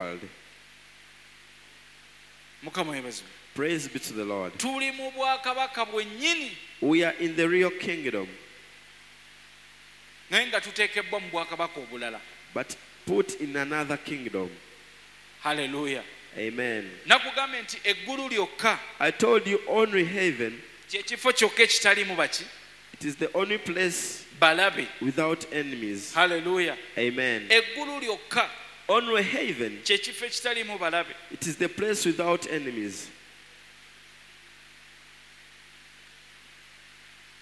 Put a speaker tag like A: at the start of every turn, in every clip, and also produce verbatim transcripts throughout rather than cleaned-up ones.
A: World.
B: Mukama yeebazibwe.
A: Praise be to the Lord.
B: Tuli mu bwakabaka bwennyini.
A: We are in the real kingdom,
B: naye nga tuteekebbwa mu bwakabaka obulala.
A: But put in another kingdom.
B: Haleluya.
A: Amen.
B: Nakugambye nti eggulu lyokka
A: I told you only heaven,
B: kye kifo kyokka ekitaliimu baki
A: it is the only place
B: balabe.
A: Without enemies.
B: Haleluya.
A: Amen.
B: Eggulu lyokka
A: Only heaven,
B: kye kifo ekitaliimu balabe.
A: It is the place without enemies.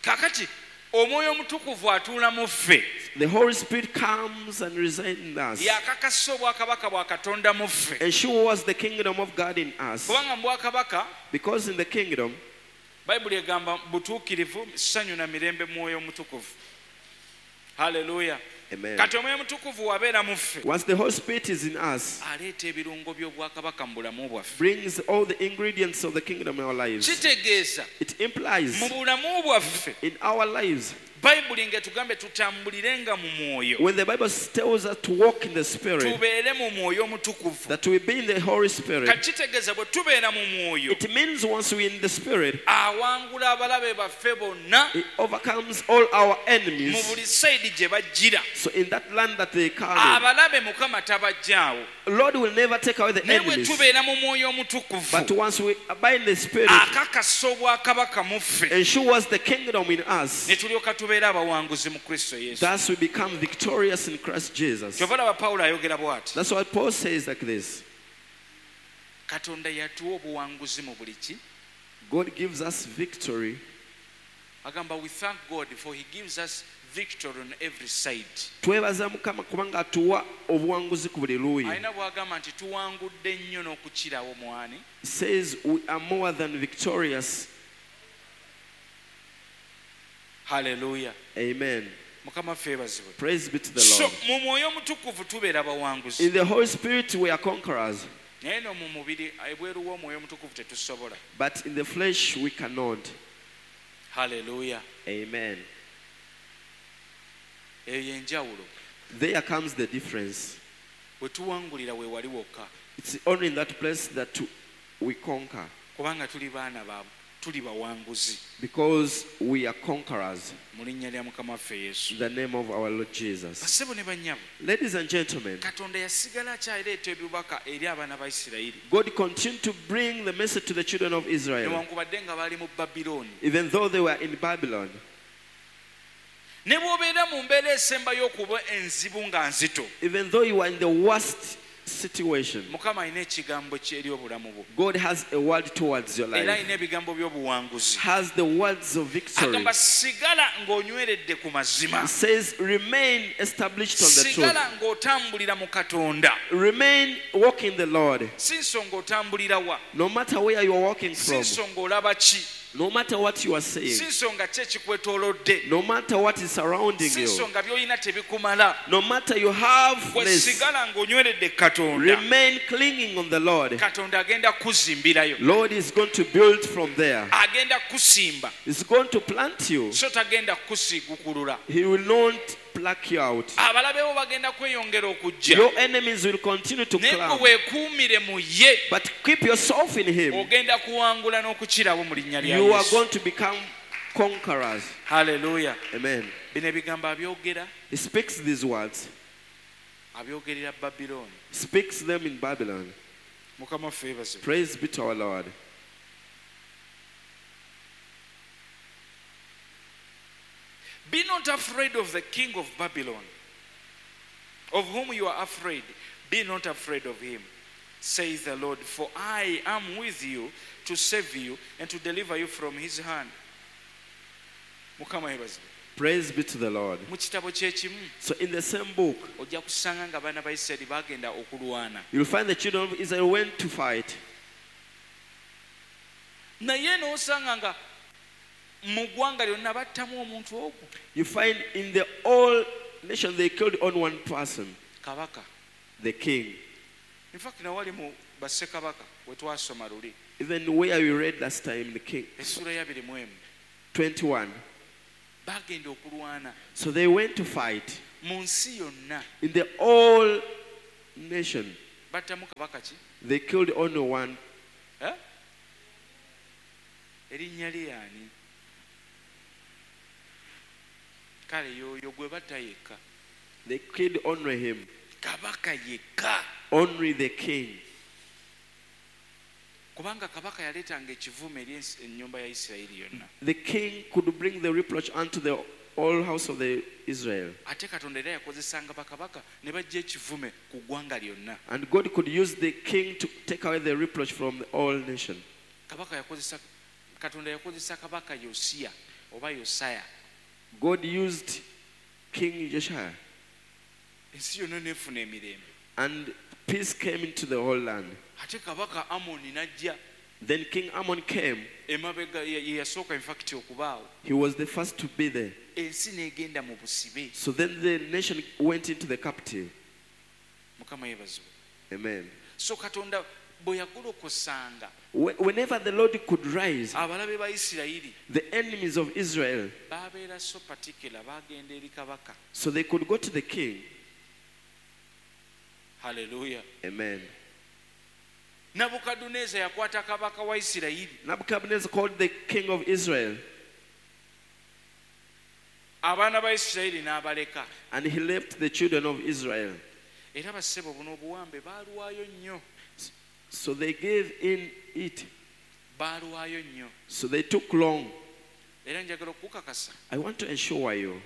B: Kaakati omwoyo omutukuvu atuula mu ffe.
A: The Holy Spirit comes and resides in us.
B: Yakakasa obwakabaka bwa Katonda mu ffe.
A: Ensures the kingdom of God in us.
B: Kubanga mu bwakabaka
A: Because in the kingdom,
B: Bayibuli egamba butuukirivu ssanyu na mirembe mu mwoyo omutukuvu. Haleluya.
A: Amen.
B: Kati omwoyo omutukuvu wabeera mu ffe
A: Once the Holy Spirit is in us,
B: aleeta ebirungo by'obwakabaka mu bulamu bwaffe.
A: Brings all the ingredients of the kingdom in our lives.
B: Kitegeeza
A: It implies
B: mu bulamu bwaffe
A: in our lives,
B: Bayibuli ng'etugambe tutambulirenga mu mwoyo
A: when the Bible tells us to walk in the Spirit,
B: tubeere mu mwoyo omutukuvu.
A: That we be in the Holy Spirit,
B: Kati kitegeeza bwe tubeera mu mwoyo
A: it means once we're in the Spirit,
B: awangula abalabe baffe bonna
A: it overcomes all our
B: mu
A: enemies.
B: buli sayidi gye bajjira.
A: So in that land that they come in,
B: Abalabe Mukama tabajjaawo.
A: Lord will never take away the
B: Naye bwe
A: enemies.
B: tubeera mu mwoyo omutukuvu
A: But once we abide in the Spirit,
B: akakasa obwakabaka mu ffe
A: ensures the kingdom in us.
B: Ne tulyoka tubeera abawanguzi mu Kristo Yesu.
A: Thus we become victorious in Christ Jesus.
B: Kyova olaba Pawulo ayogera bw'ati.
A: That's why Paul says like this.
B: Katonda yatuwa obuwanguzi mu buli ki.
A: God gives us victory.
B: Agamba we thank God for he gives us victory on every side.
A: Twebaza Mukama kubanga atuwa obuwanguzi ku buli luuyi.
B: Alina bw'agamba nti tuwangudde nnyo n'okukirawo mwani.
A: He says we are more than victorious.
B: Hallelujah.
A: Amen.
B: Mukama ffe yeebazibwe.
A: Praise be to the
B: So
A: Lord.
B: mu mwoyo omutukuvu tubeera bawanguzi.
A: In the Holy Spirit we are conquerors.
B: Naye no mu mubiri ebweru w'omwoyo omutukuvu tetusobola.
A: But in the flesh we cannot.
B: Hallelujah.
A: Amen.
B: Eyo y'enjawulo.
A: There comes the difference.
B: We tuwangulira we wali wokka.
A: It's only in that place that we conquer.
B: Kubanga tuli baana ba tuli bawanguzi.
A: Because we are conquerors.
B: Mu linnya lya Mukama waffe Yesu.
A: In the name of our Lord Jesus.
B: Bassebo ne bannyabo.
A: Ladies and gentlemen,
B: Katonda yasigala akyaleeta ebibaka eri abaana ba Isirayiri.
A: God continued to bring the message to the children of Israel.
B: Newankubadde nga baali mu Babilooni.
A: Even though they were in Babylon.
B: Ne bw'obeera mu mbeera esembayo okuba enzibu nga nzito.
A: Even though you are in the worst situation,
B: Mukama alina ekigambo kye eri obulamu bwo.
A: God has a word towards your
B: Era
A: life.
B: alina ebigambo by'obuwanguzi.
A: Has the words of victory.
B: Agamba sigala ng'onyweredde ku mazima.
A: He says remain established on the truth.
B: Sigala ng'otambulira mu Katonda.
A: Remain walking the Lord.
B: Si nsonga otambulira wa.
A: No matter where you are walking
B: Si
A: from.
B: nsonga olaba ki.
A: No matter what you are saying.
B: Si nsonga ki ekikwetoolodde.
A: No matter what is surrounding
B: Si
A: you.
B: nsonga by'olina tebikumala.
A: No matter you have
B: Gwe
A: less.
B: sigala ng'onyweredde Katonda.
A: Remain clinging on the Lord.
B: Katonda agenda kuzimbirayo.
A: Lord is going to build from there.
B: Agenda kusimba.
A: He's going to plant you.
B: So tagenda kusiigukulula.
A: He will not pluck you out.
B: Abalabe bo bagenda kweyongera okujja.
A: Your enemies will continue to
B: Naye gwe
A: climb.
B: weekuumire mu ye.
A: But keep yourself in him.
B: Ogenda kuwangula n'okukirawo mu linnya lya
A: You are
B: Yesu.
A: going to become conquerors.
B: Hallelujah.
A: Amen.
B: Bino ebigambo abyogera,
A: He speaks these words.
B: abyogerera Babilooni.
A: Speaks them in Babylon.
B: Mukama waffe yeebazibwe.
A: Praise be to our Lord.
B: Be not afraid of the king of Babylon, of whom you are afraid. Be not afraid of him, says the Lord, for I am with you to save you and to deliver you from his hand. Mukama yeebazibwe.
A: Praise be to the Lord.
B: Mu kitabo kye kimu,
A: So in the same book,
B: ojja kusanga nga abaana ba Isirayiri bagenda okulwana.
A: You'll find the children of Israel went to fight.
B: Naye n'osanga nga mu ggwanga lyonna battamu omuntu ogwo.
A: You find in the whole nation they killed only one person,
B: Kabaka.
A: The king.
B: In fact, nawali mu bassekabaka we twasoma luli.
A: Even where we read last time, the king,
B: Essuula ya abiri mu emu.
A: twenty-one.
B: Bagenda okulwana
A: So they went to fight
B: mu nsi yonna.
A: In the whole nation.
B: Battamu kabaka ki?
A: They killed only one.
B: Eh? Erinnya lye ani? Kale y'oyo gwe batta yekka.
A: They killed only him.
B: Kabaka yekka.
A: Only the king.
B: Kubanga kabaka yaleetanga ekivume eri ennyumba ya Isirayiri yonna.
A: The king could bring the reproach unto the all house of the Israel.
B: Ate Katonda era yakozesanga bakabaka ne bajja ekivume ku ggwanga lyonna.
A: And God could use the king to take away the reproach from the all nation.
B: Kabaka yakozesa, Katonda yakozesa kabaka Yosiya oba Yosaya.
A: God used King Josiah.
B: Ensi yonna n'efuna emirembe.
A: And peace came into the whole land.
B: Ate kabaka Amoni n'ajja.
A: Then King Amon came.
B: Emabega ye yasooka in fact okubaawo.
A: He was the first to be there.
B: Ensi n'egenda mu busibe.
A: So then the nation went into the captive.
B: Mukama yeebazibwe.
A: Amen.
B: So Katonda bwe yagolokosanga,
A: Whenever the Lord could rise,
B: abalabe ba Isirayiri,
A: the enemies of Israel,
B: babeera so particular, bagenda eri kabaka.
A: So they could go to the king.
B: Hallelujah.
A: Amen.
B: Nabukadduneeza yakwata kabaka wa Isirayiri.
A: Nebuchadnezzar called the king of Israel.
B: Abaana ba Isirayiri n'abaleka.
A: And he left the children of Israel.
B: Era bassebo buno obuwambe baalwayo nnyo.
A: So they gave in it.
B: Baalwayo nnyo.
A: So they took long.
B: Era njagala okukakasa.
A: I want to ensure you.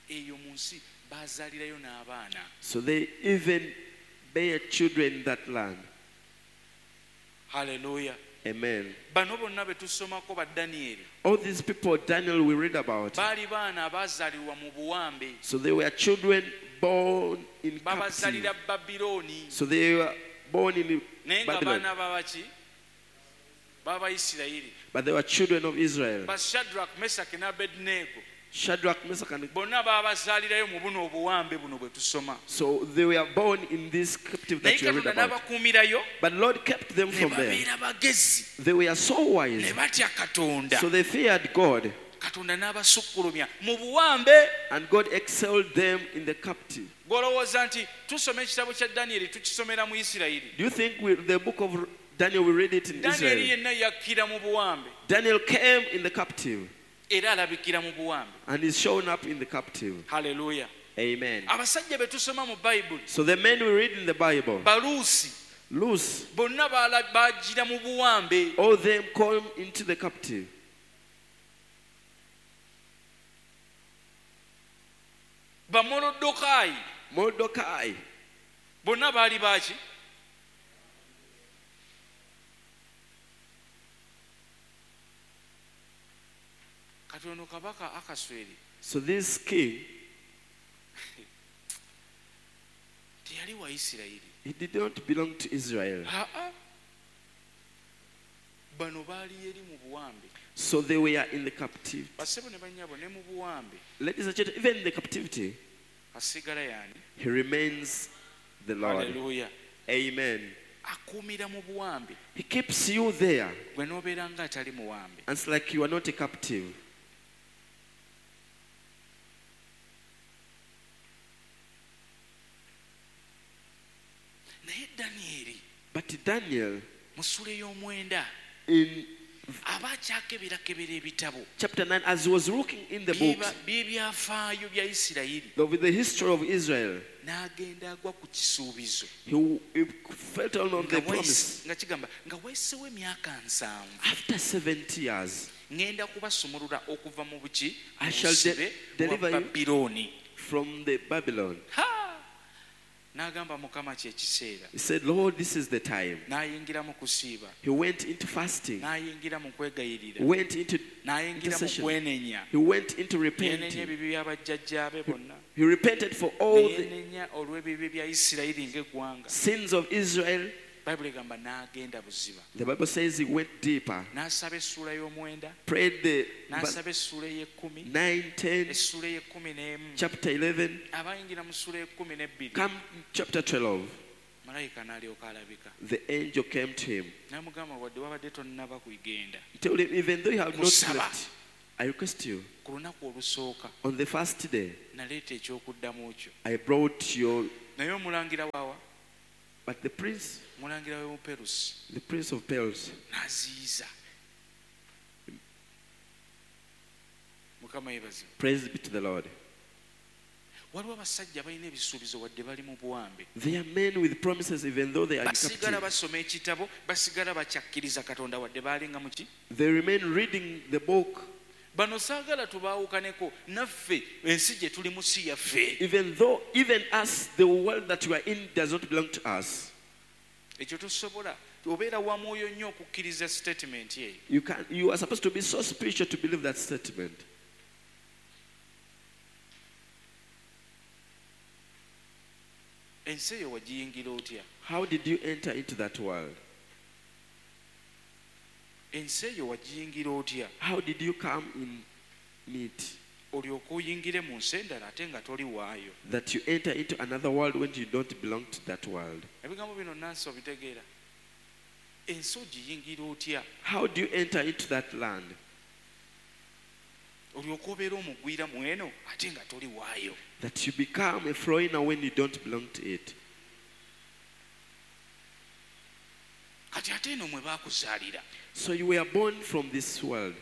B: Eyo mu nsi baazaalirayo n'abaana.
A: So they even bear children in that land.
B: Hallelujah.
A: Amen.
B: Bano bonna be tusomako ba Daniel.
A: All these people Daniel we read about.
B: Baali baana abaazaalirwa mu buwambe.
A: So they were children born in captivity.
B: Babazaalira Babiloni.
A: So they were born in
B: Naye nga
A: Babylon.
B: baana babaki? Baba Isirayiri.
A: But they were children of Israel.
B: Ba Shadrach, Meshach ne Abednego.
A: Shadrach, Meshach and
B: Bonna baabazaalirayo mu buno obuwambe buno bwe tusoma.
A: So they were born in this captive that
B: Naye
A: you read
B: Katonda
A: about.
B: n'abakuumirayo,
A: But Lord kept them
B: ne
A: from there.
B: babeera bagezi.
A: They were so wise.
B: Ne batya Katonda.
A: So they feared God.
B: Katonda n'abasukkulumya mu buwambe.
A: And God excelled them in the captive.
B: Gw'olowooza nti tusoma ekitabo kya Daniel tukisomera mu Isirayiri.
A: Do you think we, the book of Daniel, we read it in
B: Daniel
A: Israel?
B: yenna yakkira mu buwambe.
A: Daniel came in the captive.
B: Era alabikira mu buwambe.
A: And is shown up in the captive.
B: Hallelujah.
A: Amen.
B: Abasajja be tusoma mu Bible.
A: So the men we read in the Bible.
B: Balusi.
A: Lucy.
B: Bonna bagira mu buwambe.
A: All them come into the captive.
B: Ba Morodekai.
A: Mordecai.
B: Bonna baali baaki? Kati ono kabaka Akasweri.
A: So this king,
B: teyali wa Isirayiri.
A: He did not belong to Israel.
B: Ha-ha. Bano baali eri mu buwambe.
A: So they were in the captivity.
B: Bassebo ne bannyabo ne mu buwambe.
A: Ladies and gentlemen, even in the captivity,
B: asigala y'ani?
A: He remains the Lord.
B: Hallelujah.
A: Amen.
B: Akuumira mu buwambe.
A: He keeps you there.
B: Gwe n'obeera nga atali muwambe.
A: And it's like you are not a captive.
B: Naye Daniel,
A: But Daniel,
B: mu ssuula ey'omwenda,
A: in
B: aba akyakeberakebera ebitabo.
A: chapter nine, as he was looking in the books,
B: By'ebyafaayo bya Isirayiri.
A: with the history of Israel,
B: N'agenda agwa ku kisuubizo.
A: he, he felt on the
B: Nga waisi-
A: promise.
B: nga kigamba, nga wayiseewo emyaka nsanvu.
A: After seventy years,
B: Ŋŋenda kubasumulula okuva mu buki,
A: I shall de-
B: busibe bwa
A: deliver you
B: Babilooni.
A: from the Babylon.
B: Ha! N'agamba Mukama kye kiseera.
A: He said, Lord, this is the time.
B: N'ayingira mu kusiiba.
A: He went into fasting.
B: N'ayingira mu kwegayirira.
A: Went into
B: N'ayingira mu
A: intercession.
B: kwenenya.
A: He went into
B: Yeenenya
A: repenting.
B: ebibi bya bajjajjaabe bonna.
A: He repented for all the
B: Yeenenya olw'ebibi bya Isirayiri ng'eggwanga.
A: sins of Israel.
B: Bayibuli egamba n'agenda buziba.
A: The Bible says he went deeper.
B: N'asaba essuula y'omwenda.
A: Prayed the verse
B: N'asaba essuula ey'ekkumi.
A: nine, ten,
B: Essuula ey'ekkumi n'emu.
A: chapter eleven,
B: Abayingira mu ssuula ey'ekkumi n'ebbiri.
A: come chapter twelve.
B: Malayika n'alyoka alabika.
A: The angel came to him.
B: N'amugamba wadde wabadde tonnaba kugenda.
A: He told him, even though you have not
B: Kusaba.
A: left, I request you,
B: Ku lunaku olusooka
A: on the first day,
B: naleeta ekyokuddamu kyo.
A: I brought your
B: Naye omulangira waawa?
A: But the prince,
B: Omulangira w'e Buperusi.
A: the prince of Persia,
B: N'aziyiza. Mukama yeebazibwe.
A: Praise be to the Lord.
B: Waliwo abasajja balina ebisuubizo wadde bali mu buwambe.
A: They are men with promises even though they are in
B: Basigala
A: captivity.
B: basoma ekitabo, basigala bakyakkiriza Katonda wadde baalinga mu ki?
A: They remain reading the book.
B: Bano saagala tubaawukaneko naffe ensi gye tulimu si yaffe.
A: Even though, even us, the world that we are in does not belong to us.
B: Ekyo tosobola. Obeera wa mwoyo nnyo okukkiriza statement eyo.
A: You can, you are supposed to be so spiritual to believe that statement.
B: Ensi eyo wagiyingira otya?
A: How did you enter into that world?
B: Ensi eyo wagiyingira otya?
A: How did you come in it?
B: Olyoke oyingire mu nsi endala ate nga toli waayo.
A: That you enter into another world when you don't belong to that world.
B: Ebigambo bino Nansi obitegeera. Ensi ogiyingira otya?
A: How do you enter into that land?
B: Olyoke obeere omugwira mu eno ate nga toli waayo.
A: That you become a foreigner when you don't belong to it.
B: Kati ate eno mwe baakuzaalira.
A: So you were born from this world.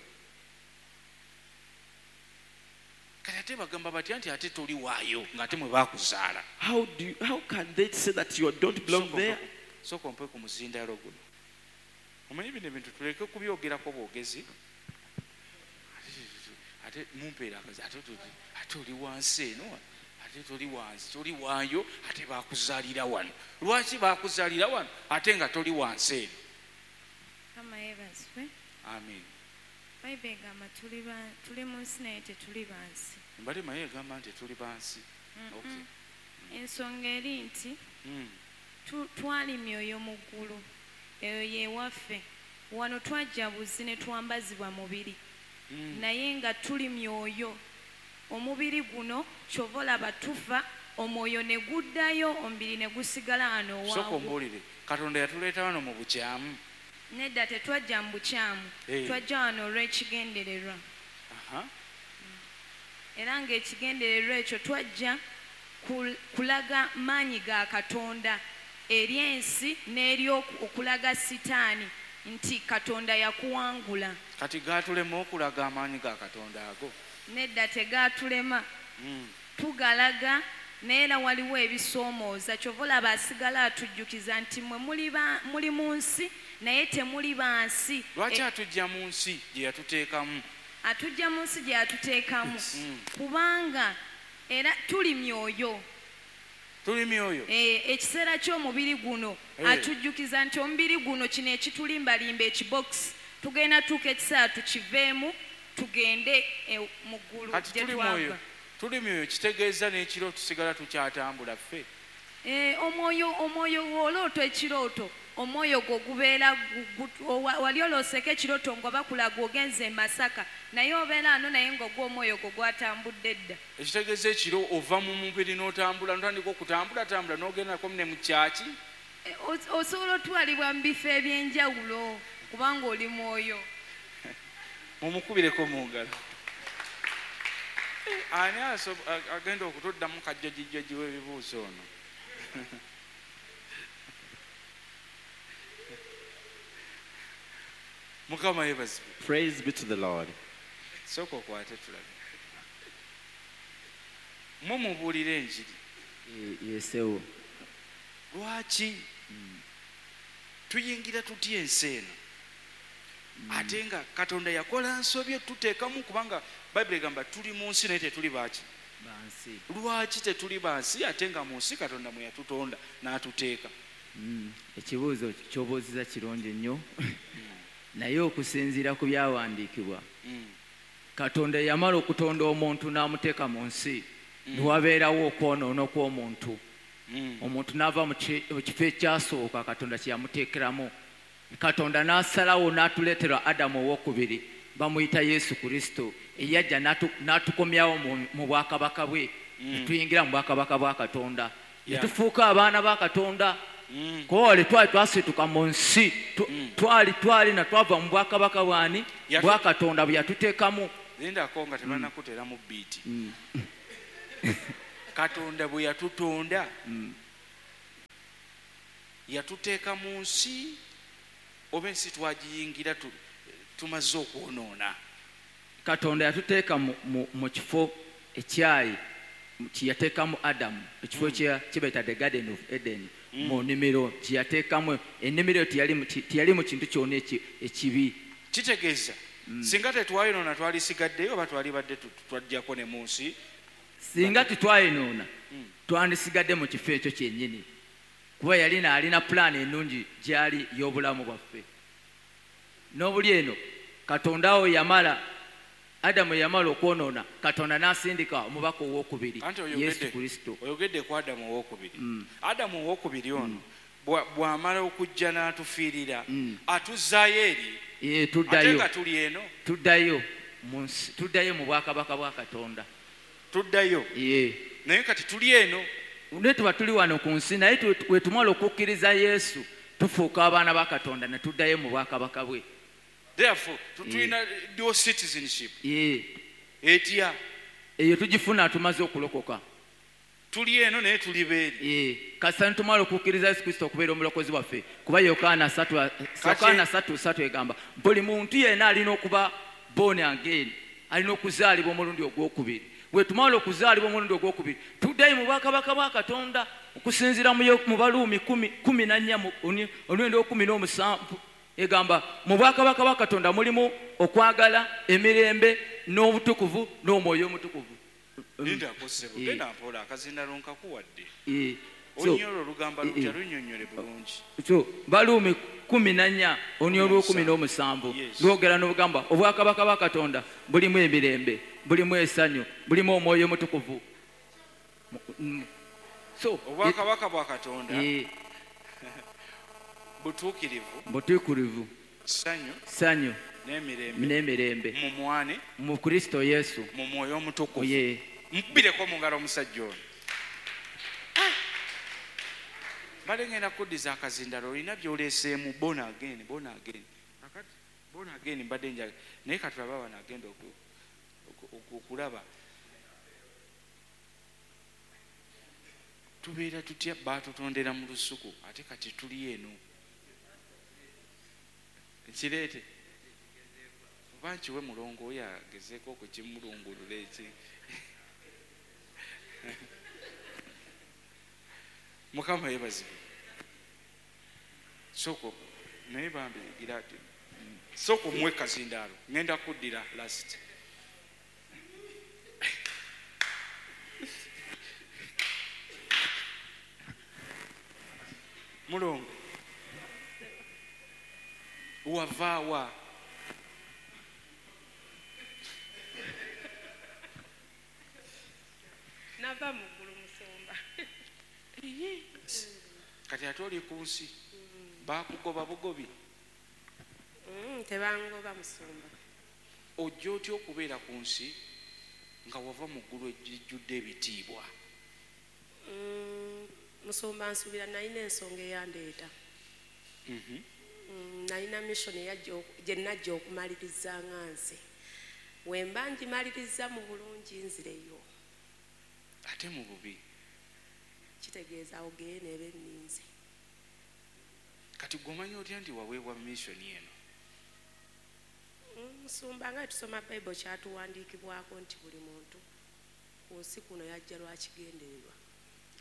B: Kati ate bagamba batya nti ate toli waayo ng'ate mwe baakuzaala.
A: How do you, how can they say that you don't belong
B: Sooka
A: there?
B: ompe- sooka ompe ku muzindaalo guno. Omanyi bino ebintu tuleke kubyogerako bwogezi. Ate mumpeera akazi, ate toli, ate oli wansi eno, ate toli wansi, toli waayo, ate baakuzaalira wano. Lwaki baakuzaalira wano ate nga toli wansi eno?
C: Mukama yeebazibwe.
B: Amiina.
C: Bayibuli egamba tuli ba-, tuli mu nsi naye tetuli ba nsi.
B: Mbadde manyi egamba nti tuli ba nsi.
C: Mm-mm.
B: Okay.
C: Ensonga eri nti
B: Mm.
C: tu-, twali myoyo mu ggulu, eyo ye waffe. Wano twajja buzi ne twambazibwa mubiri.
B: Mm.
C: Naye nga tuli myoyo. Omubiri guno ky'ova olaba tufa, omwoyo ne guddayo, omubiri ne gusigala wano
B: Sooka
C: owaagwo.
B: ombuulire, Katonda yatuleeta wano mu bukyamu?
C: Nedda, tetwajja mu bukyamu.
B: Hey.
C: Twajja wano olw'ekigendererwa.
B: Aha.
C: Era ng'ekigendererwa ekyo twajja kul-, kulaga maanyi ga Katonda eri ensi n'eri oku-, okulaga Sitaani nti Katonda yakuwangula.
B: Kati gaatulema okulaga amaanyi ga Katonda ago?
C: Nedda, tegaatulema.
B: Mm.
C: Tugalaga, naye era waliwo ebisoomooza. Ky'ova olaba asigala atujjukiza nti mmwe muli ba-, muli mu nsi naye temuli ba nsi.
B: Lwaki
C: E-
B: atujja mu nsi gye yatuteekamu?
C: Atujja mu nsi gye yatuteekamu.
B: Mm.
C: Kubanga era tuli myoyo.
B: Tuli myoyo.
C: Eh, ekiseera ky'omubiri guno,
B: Eh.
C: atujjukiza nti omubiri guno kino ekitulimbalimba ekibokisi, tugenda tuuka ekiseera tukiveemu, tugende, eh, mu ggulu
B: Kati
C: gye
B: tuli
C: twava.
B: mwoyo. Tuli myoyo kitegeeza n'ekiro tusigala tukyatambula ffe.
C: Eh, omwoyo, omwoyo w'olooto ekirooto, omwoyo gwo gubeera gu-, gu-, owa-, wali olooseko ekirooto nga bakulaga ogenze e Masaka, naye obeera ano naye ng'ogwo omwoyo gwo gwatambudde dda.
B: Ekitegeeza ekiro ova mu mubiri n'otambula, n'otandika okutambulatambula n'ogendako ne mu kyaki?
C: Eh, os-, osobola otwalibwa mu bifo eby'enjawulo kubanga oli mwoyo.
B: Mumukubireko mu ngalo. Eh, ani aso-, a-, agenda okutuddamu kajjojijjoji w'ebibuuzo ono? Mukama yeebazibwe.
A: Praise be to the Lord.
B: Sooka okwate tulabe. Mmwe mubuulire enjiri.
D: Eh, yesewo.
B: Lwaki
D: Mm.
B: tuyingira tutya ensi eno?
D: Mm.
B: Ate nga Katonda yakola nsobi tuteekamu, kubanga Bayibuli egamba tuli mu nsi naye tetuli baaki?
D: Ba nsi.
B: Lwaki tetuli ba nsi ate nga mu nsi Katonda mwe yatutonda n'atuteeka?
D: Mm. Ekibuuzo ky'obuuzizza kirungi nnyo. Naye okusinziira ku byawandiikibwa,
B: Mm.
D: Katonda yamala okutonda omuntu n'amuteeka mu nsi,
B: Mm.
D: ne wabeerawo okwonoona kw'omuntu.
B: Mm.
D: Omuntu n'ava mu ki-, mu kifo ekyasooka Katonda kye yamuteekeramu. Katonda n'asalawo n'atuleetera Adamu owokubiri, bamuyita Yesu Kristo, eyajja n'atu-, n'atukomyawo mu, mu bwakabaka bwe,
B: Mm.
D: ne tuyingira mu bwakabaka bwa Katonda. Ne
B: Yeah.
D: tufuuka abaana ba Katonda.
B: Mm.
D: Kwoli twali twasituka mu nsi, tu-,
B: Mm.
D: twali, twali na twava mu bwakabaka bwani?
B: Yatu-
D: Bwa Katonda bwe yatuteekamu.
B: Lindako nga tebannakuteeramu bbiiti.
D: Mm.
B: Katonda bwe yatutonda,
D: Mm.
B: Yatuteeka mu nsi oba ensi twagiyingira tumaze okwonoona.
D: Katonda yatuteeka mu kifo ekyayi kye yateekamu Adamu, ekifo kye bayita the Garden of Eden, mu nnimiro gye yateekamu. Ennimiro teyali mu kintu kyonna ekibi.
B: Kitegeeza singa tetwayonoona twalisigaddeyo oba twalibadde twajjako ne mu nsi?
D: Singa tetwayonoona twandisigadde mu kifo ekyo kyennyini, kuba yalina alina pulaani ennungi gyali y'obulamu bwaffe. N'obuli eno Katonda awo yamala Adamu yamala okwonoona, Katonda n'asindika omubaka owokubiri Yesu Kristo.
B: Oyogedde ku Adamu owokubiri. Adamu owokubiri ono bw'amala okujja n'atufiirira atuzzaayo eri,
D: tuddayo
B: ate nga tuli eno,
D: tuddayo mu nsi, tuddayo mu bwakabaka bwa Katonda,
B: tuddayo. Naye kati tuli eno,
D: naye tuba tuli wano ku nsi, naye we tumala okukkiriza Yesu tufuuka abaana ba Katonda ne tuddayo mu bwakabaka bwe.
B: Therefore tulina dual citizenship. Etya
D: eyo tugifuna tumaze okulokoka.
B: Tuli eno naye tuli beeri.
D: Kasita nitumala okukkiriza Yesu Kristo okubeera omulokozi waffe, kuba Yokaana ssatu ssatu egamba buli muntu yenna alina okuba born again, alina okuzaalibwa omulundi ogwokubiri. Bwe tumala okuzaalibwa omulundi ogwokubiri tuddayo mu bwakabaka bwa Katonda okusinziira mu Baluumi kumi na nnya olunyiriri olw'ekkumi n'omusanvu egamba mu bwakabaka bwa Katonda mulimu okwagala, emirembe n'obutukuvu n'omwoyo omutukuvu.
B: Linda kosebo, genda mpola akazindalo nkakuwadde. Onyolo olugamba lutya lunnyonnyole bulungi.
D: So Baluumi kumi na nnya olunyiriri olw'ekkumi n'omusanvu lwogera n'obugamba obwakabaka bwa Katonda bulimu emirembe, bulimu essanyu, bulimu omwoyo omutukuvu. So
B: obwakabaka bwa Katonda butuukirivu,
D: butuukirivu,
B: ssanyu,
D: ssanyu
B: n'emirembe,
D: n'emirembe
B: mu mwane,
D: mu Kristo Yesu,
B: mu mwoyo omutukuvu. Mukubireko mu ngalo omusajja ono. Mbadde ngenda kuddiza akazindalo, olina by'oleeseemu born again, born again. Kakati born again mbadde njagala, naye katulabe wano agenda okulaba tubeera tutya. Baatutondera mu lusuku ate kati tuli eno. Nkireete oba nkiwe mulongo oyo agezeeko okukimulungulula eki. Mukama yeebazibwe. Soko naye bambi gira soko omuwe kazindaalo, ngenda kuddira last. Mulongo wavaawa?
E: Nava mu ggulu musumba.
B: Kati ate oli ku nsi baakugoba bugobi?
E: Tebangoba musumba.
B: Ojja otya okubeera ku nsi nga wava mu ggulu ejjudde ebitiibwa?
E: Musumba nsuubira nalina ensonga eyandeeta. Nalina mission gye najja okumaliriza nga nze. We mba ngimaliriza mu bulungi nzireyo.
B: Ate mu bubi?
E: Kitegeeza awo geena eba enninze.
B: Kati gw'omanyi otya nti waweebwa mission eno?
E: Musumba nga tusoma Bayibuli kyatuwandiikibwako nti buli muntu ku nsi kuno yajja lwa kigendererwa.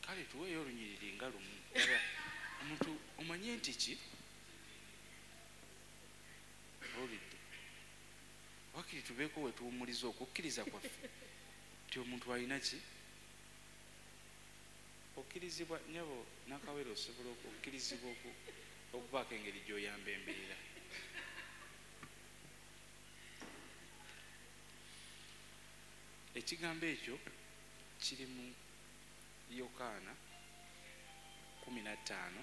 B: Kale tuweeyo olunyiriri nga lumu. Omuntu omanye nti ki? Owulidde? Wakiri tubeeko we tuwummuliza okukkiriza kwaffe nti omuntu alina ki? Okkirizibwa nnyabo Nakawere, osobola okukkirizibwa okubaako engeri gy'oyamba embeera. Ekigambo ekyo kiri mu Yokaana kumi na ttaano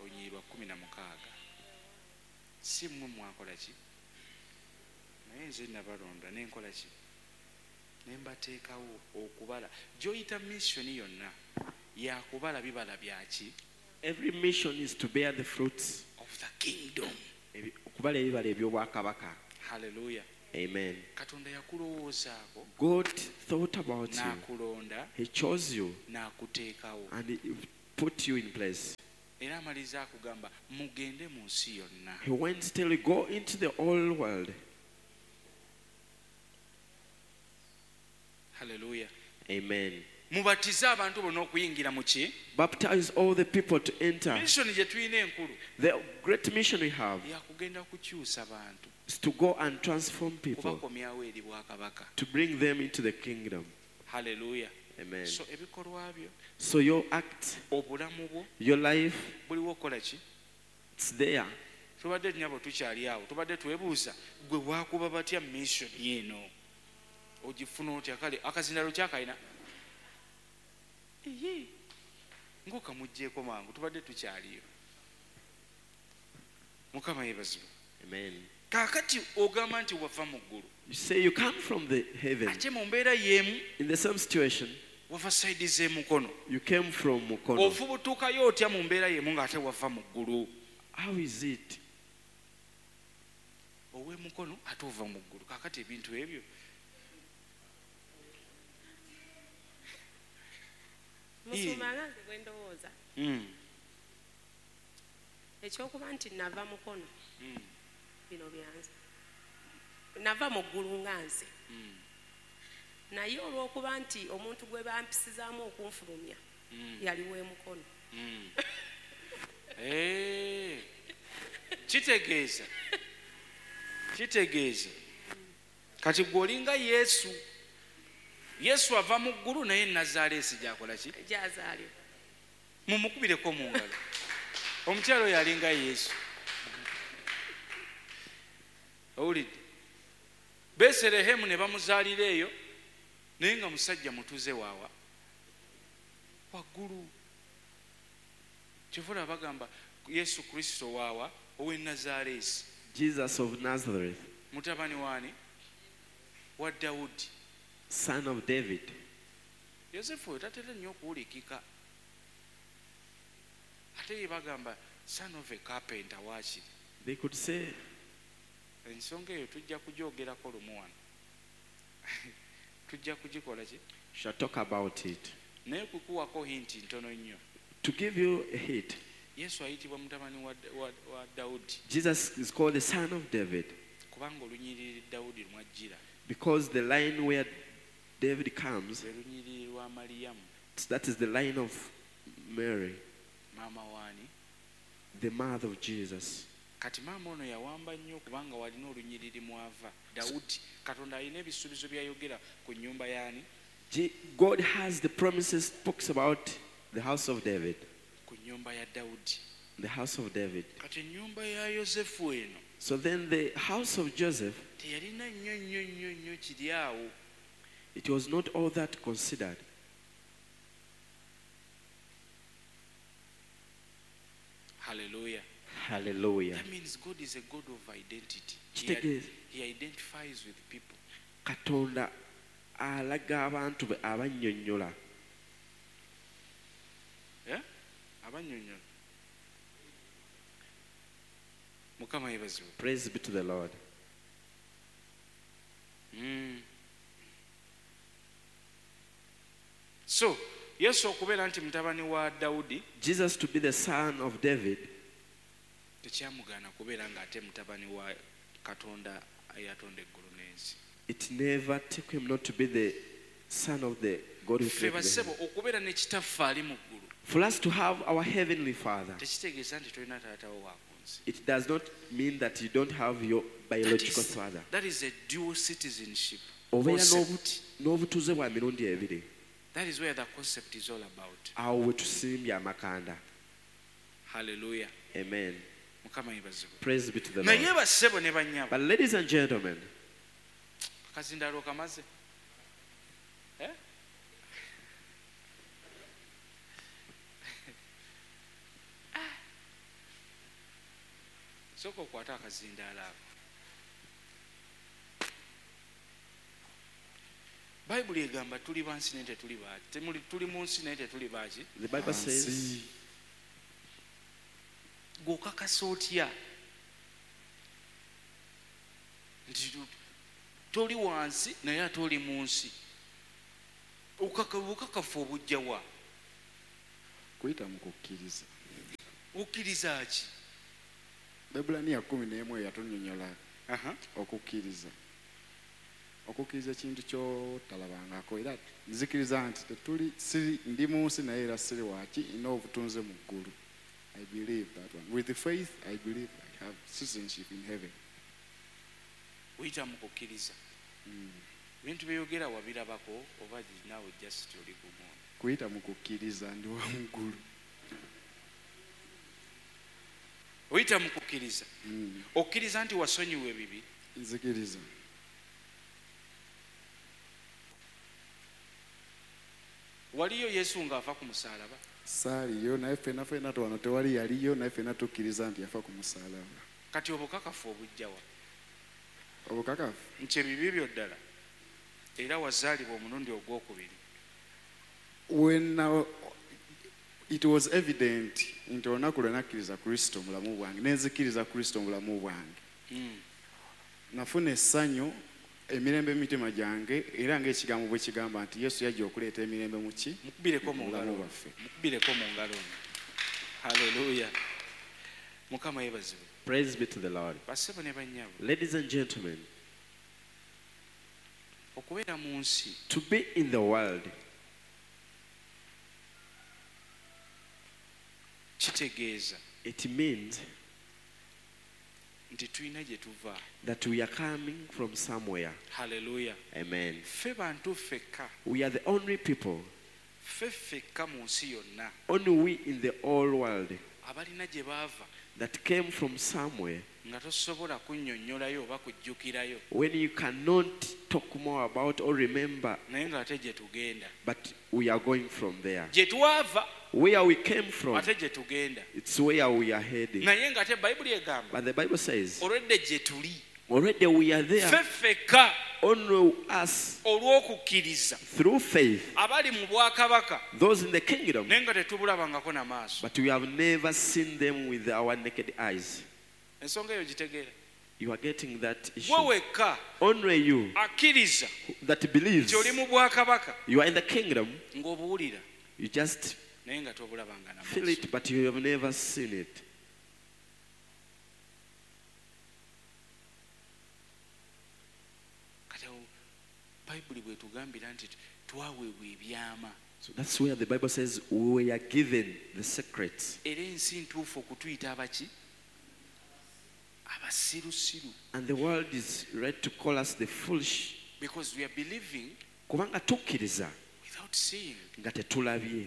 B: olunyiriri lwa kkumi na mukaaga. Si mmwe mwakola ki? Naye nze nabalonda ne nkola ki? Ne mbateekawo okubala. Gy'oyita missioni yonna yakubala bibala byaki?
A: Every mission is to bear the fruits
B: of the kingdom.
A: Okubala ebibala eby'obwakabaka.
B: Hallelujah.
A: Amen.
B: Katonda yakulowoozaako.
A: God thought about you.
B: N'akulonda.
A: He chose you.
B: N'akuteekawo.
A: And he put you in place.
B: Era amaliriza akugamba mugende mu nsi yonna.
A: He went till you go into the whole world.
B: Hallelujah.
A: Amen.
B: Mubatize abantu bonna okuyingira mu ki?
A: Baptize all the people to enter.
B: Mission gye tulina enkulu.
A: The great mission we have
B: yakugenda kukyusa bantu.
A: is to go and transform people.
B: Kubakomyawo eri bwakabaka.
A: To bring them into the kingdom.
B: Hallelujah.
A: Amen.
B: So ebikolwa byo,
A: So your act,
B: obulamu bwo,
A: your life,
B: buliwo okola ki?
A: It's there.
B: Tubadde nnyabo tukyali awo, tubadde twebuuza gwe waakuba batya mission eno? Ogifuna otya? Kale akazindalo kyakalina. Iye. Ng'okamuggyeko mangu, tubadde tukyaliyo. Mukama yeebazibwe.
A: Amen.
B: Kaakati ogamba nti wava mu ggulu.
A: You say you come from the heaven.
B: Ate mu mbeera y'emu,
A: In the same situation,
B: wava side z'emukono.
A: You came from Mukono.
B: Ofubutukayo otya mu mbeera y'emu ng'ate wava mu ggulu?
A: How is it?
B: Ow'emukono ate ova mu ggulu. Kaakati ebintu ebyo.
E: Musumba nga nze bwe ndowooza.
B: Mm.
E: Ekyokuba nti nava Mukono.
B: Mm.
E: Bino byanze. Nava mu ggulu nga nze.
B: Mm.
E: Naye olw'okuba nti omuntu gwe bampisizaamu okunfulumya,
B: Mm.
E: yali w'emukono.
B: Mm. Eh. Kitegeeza. Kitegeeza. Kati gwe olinga Yesu. Yesu ava mu ggulu naye Nazaaleesi gy'akola ki?
E: Gy'azaalibwa.
B: Mumukubireko mu ngalo. Omukyala oyo alinga Yesu. Owulidde? Beserehemu ne bamuzaalira eyo, naye nga musajja mutuze waawa waggulu. Kyova olaba bagamba Yesu Kristo waawa ow'e Nazaaleesi.
A: Jesus of Nazareth.
B: Mutabani waani? Wa Dawudi.
A: Son of David.
B: Yosefu oyo tatera nnyo okuwulikika. Ate ye bagamba son of a carpenter waakiri.
A: They could say,
B: ensonga eyo tujja kugyogerako lumu wano. Tujja kugikola ki?
A: Shall talk about it.
B: Naye kukuwako hinti ntono nnyo.
A: To give you a hint.
B: Yesu ayitibwa mutabani wa, wa, wa Dawudi.
A: Jesus is called the son of David.
B: Kubanga olunyiriri Dawudi lwajjira.
A: Because the line where David comes,
B: lwe lunyiriri lwa Mariyamu.
A: That is the line of Mary.
B: Maama waani?
A: The mother of Jesus.
B: Kati maama ono yawamba nnyo kubanga walina olunyiriri mwava. Dawudi, Katonda alina ebisuubizo by'ayogera ku nnyumba y'ani?
A: God has the promises, talks about the house of David.
B: Ku nnyumba ya Dawudi.
A: The house of David.
B: Kati ennyumba ya Yosefu eno.
A: So then the house of Joseph,
B: teyalina nnyo nnyo nnyo nnyo kiri awo.
A: It was not all that considered.
B: Hallelujah.
A: Hallelujah.
B: That means God is a God of identity. He,
A: Kitegeeza.
B: he identifies with people.
A: Katonda alaga abantu be abannyonnyola.
B: Eh? Abannyonnyola. Mukama yeebazibwe.
A: Praise be to the Lord.
B: Mm. So, Yesu okubeera nti mutabani wa Dawudi,
A: Jesus to be the son of David,
B: tekyamugaana kubeera ng'ate mutabani wa Katonda eyatonda eggulu n'ensi.
A: It never took him not to be the son of the God who
B: Ffe
A: created the
B: bassebo
A: heaven.
B: okubeera ne kitaffe ali mu ggulu,
A: For us to have our heavenly Father,
B: tekitegeeza nti tolina taata wo wa ku nsi.
A: It does not mean that you don't have your biological
B: That is,
A: father.
B: that is a dual citizenship
A: Obeera
B: concept.
A: n'obutuuze bwa mirundi ebiri.
B: That is where the concept is all about.
A: Awo we tusimbye amakanda.
B: Hallelujah.
A: Amen.
B: Mukama yeebazibwe.
A: Praise be to the
B: Naye
A: Lord.
B: bassebo ne bannyabo.
A: But ladies and gentlemen,
B: Akazindaalo kamaze. Eh? Sooka okwate akazindaalo ako. Bayibuli egamba tuli ba nsi naye tetuli ba, temuli, tuli mu nsi naye tetuli ba ki?
A: The Bible says,
B: Gw'okakasa otya nti toli wansi naye ate oli mu nsi? Okaka-, obukakafu obujja wa?
F: Kuyita mu kukkiriza.
B: Okkiriza ki?
F: Baebbulaniya kkumi n'emu eyatunnyonnyola
B: Aha.
F: okukkiriza. Okukkiriza ekintu ky'otalabangako, era nzikiriza nti tetuli siri ndi mu nsi naye era siri waaki, nina obutunze mu ggulu. I believe that one. With the faith, I believe I have citizenship in heaven.
B: Oyita mu kukkiriza. Ebintu byeyogera wabirabako oba naawe just oli gumu?
F: Kuyita mu kukkiriza ndi wa mu ggulu.
B: Oyita mu kukkiriza. Okkiriza nti wasonyiwa ebibi?
F: Nzikiriza.
B: Waliyo Yesu ng'afa ku musaalaba?
F: Saaliyo, naye ffenna ffenna wano tewali yaliyo, naye ffenna tukkiriza nti yafa ku musaalaba.
B: Kati obukakafu obujja wa?
F: Obukakafu?
B: Nti ebibi byo ddala era wazaalibwa omulundi ogwokubiri.
F: When now, it was evident nti olunaku lwe nakkiriza Kristo mu bulamu bwange, ne nzikiriza Kristo mu bulamu bwange.
B: Mm.
F: Nafuna essanyu, emirembe mu mitima gyange, era ng'ekigambo bwe kigamba nti Yesu yajja okuleeta emirembe mu ki?
B: Mukubireko mu
F: Mu bulamu
B: ngalo.
F: bwaffe.
B: Mukubireko mu ngalo. Hallelujah. Mukama yeebazibwe.
A: Praise be to the Lord.
B: Bassebo ne bannyabo.
A: Ladies and gentlemen,
B: okubeera mu nsi
A: to be in the world
B: kitegeeza
A: it means
B: nti tulina gye tuva.
A: that we are coming from somewhere.
B: Hallelujah.
A: Amen.
B: Ffe bantu ffekka.
A: We are the only people,
B: Ffe ffekka mu nsi yonna
A: only we in the whole world
B: abalina gye baava
A: that came from somewhere.
B: nga tosobola kunnyonnyolayo oba kujjukirayo
A: When you cannot talk more about or remember,
B: naye ng'ate gye tugenda.
A: but we are going from there.
B: Gye twava
A: Where we came from,
B: ate gye tugenda.
A: it's where we are heading.
B: Naye ng'ate Bayibuli egamba
A: But the Bible says,
B: olwedde gye tuli.
A: already we are there,
B: Ffe ffekka
A: only us
B: olw'okukkiriza
A: through faith,
B: abali mu bwakabaka
A: those in the kingdom,
B: naye nga tetubulabangako na maaso.
A: but we have never seen them with our naked eyes.
B: Ensonga eyo gitegeera.
A: You are getting that
B: Gwe
A: issue.
B: wekka
A: Only you
B: akkiriza
A: that believes
B: nti oli mu bwakabaka
A: you are in the kingdom,
B: ng'obuwulira
A: you just
B: naye nga tobulabanga na
A: feel
B: maaso.
A: it, but you have never seen it.
B: Kati awo Bayibuli bw'etugambira nti twaweebwa ebyama.
A: So that's where the Bible says we were given the secrets.
B: Era ensi ntuufu okutuyita abaki? Abasirusiru.
A: And the world is right to call us the foolish.
B: Because we are believing
A: Kubanga tukkiriza
B: without seeing.
A: nga tetulabye.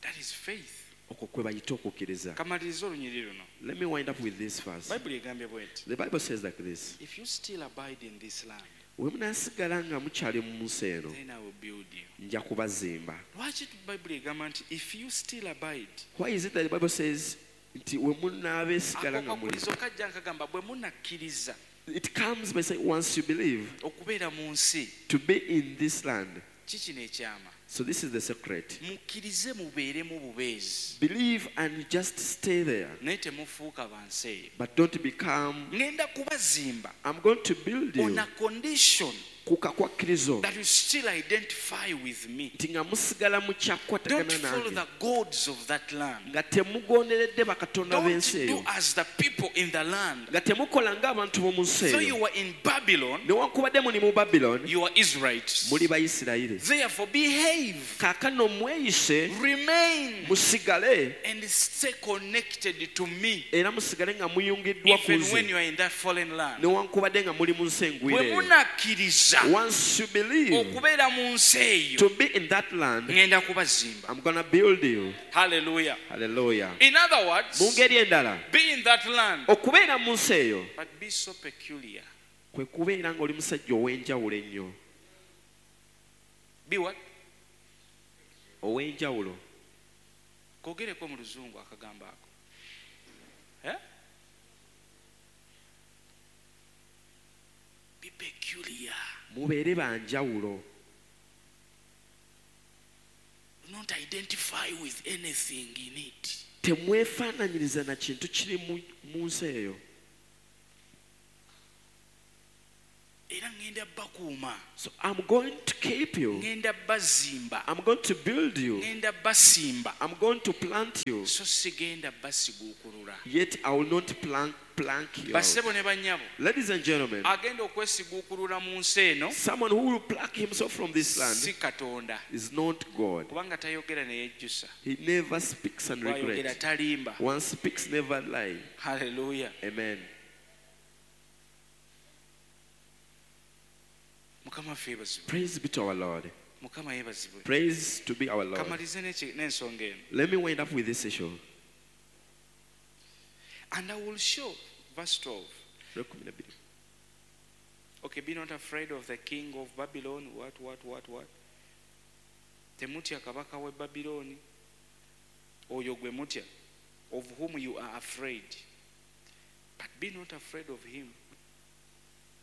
B: That is faith.
A: Okwo kwe bayita okukkiriza.
B: Kamaliriza olunyiriri luno.
A: Let me wind up with this verse.
B: Bayibuli egambye bw'eti.
A: The Bible says like this.
B: If you still abide in this land,
A: Bwe munaasigala nga mukyali mu nsi eno,
B: then I will build you.
A: nja kubazimba.
B: Lwaki Bayibuli egamba nti if you still abide?
A: Why is it that the Bible says nti we munaabeesigala nga muli?
B: Akakwakkulizo kajja nkagamba bwe munakkiriza
A: It comes by saying once you believe
B: okubeera mu nsi
A: to be in this land.
B: ki kino ekyama.
A: So this is the secret.
B: Mukkirize mubeeremu bubeezi
A: Believe and just stay there.
B: naye temufuuka ba nsi eyo.
A: But don't become,
B: Ngenda kubazimba
A: I'm going to build
B: on
A: you
B: a condition
A: ku kakwakirizo
B: that you still identify with me.
A: nti nga musigala
B: Don't
A: mukyakwatagana
B: follow
A: nange
B: the gods of that land.
A: nga temugonderedde bakatonda
B: Don't
A: b'ensi
B: do
A: eyo
B: as the people in the land.
A: nga temukola ng'abantu b'omu nsi
B: So
A: eyo
B: you are in Babylon,
A: newankubadde muli mu Babylon
B: you are Israelites.
A: muli Bayisirayiri
B: Therefore, behave,
A: kaakano mweyise
B: remain,
A: musigale
B: and stay connected to me.
A: era musigale nga muyungiddwa ku
B: Even when
A: nze
B: you are in that fallen land.
A: newankubadde nga muli mu nsi engwire
B: Bwe
A: eyo
B: munakkiriza
A: Once you believe
B: okubeera mu nsi eyo
A: to be in that land,
B: ngenda kubazimba.
A: I'm gonna build you.
B: Hallelujah.
A: Hallelujah.
B: In other words,
A: Mu ngeri endala
B: be in that land,
A: okubeera mu nsi eyo
B: but be so peculiar.
A: kwe kubeera ng'oli musajja ow'enjawulo ennyo
B: Be what?
A: ow'enjawulo
B: Kogereko mu luzungu akagambo ako. Eh? Be peculiar.
A: Mubeere banjawulo
B: Do not identify with anything in it.
A: Temwefaananyiriza na kintu kiri mu- mu nsi eyo.
B: Era ŋŋenda bakuuma.
A: So I'm going to keep you.
B: Ŋŋenda bazimba.
A: I'm going to build you.
B: Ŋŋenda basimba.
A: I'm going to plant you.
B: So sigenda basiguukulula.
A: Yet I will not plank, plank you. out.
B: Bassebo ne bannyabo.
A: Ladies and gentlemen,
B: Agenda okwesiguukulula mu nsi eno
A: someone who will pluck himself from this land
B: si Katonda.
A: is not God.
B: Kubanga tayogera ne yejjusa.
A: He never speaks and
B: Bw'ayogera
A: regrets.
B: talimba.
A: One speaks, never lie.
B: Hallelujah.
A: Amen.
B: Mukama waffe yeebazibwe.
A: Praise be to our Lord.
B: Mukama yeebazibwe.
A: Praise to be our Lord.
B: Kamalize n'eki- n'ensonga eno.
A: Let me wind up with this issue.
B: And I will show, verse twelve. Okay, be not afraid of the king of Babylon. What, what, what, what? Temutya kabaka w'e Babyloni. Oyo gwe mutya, of whom you are afraid. But be not afraid of him.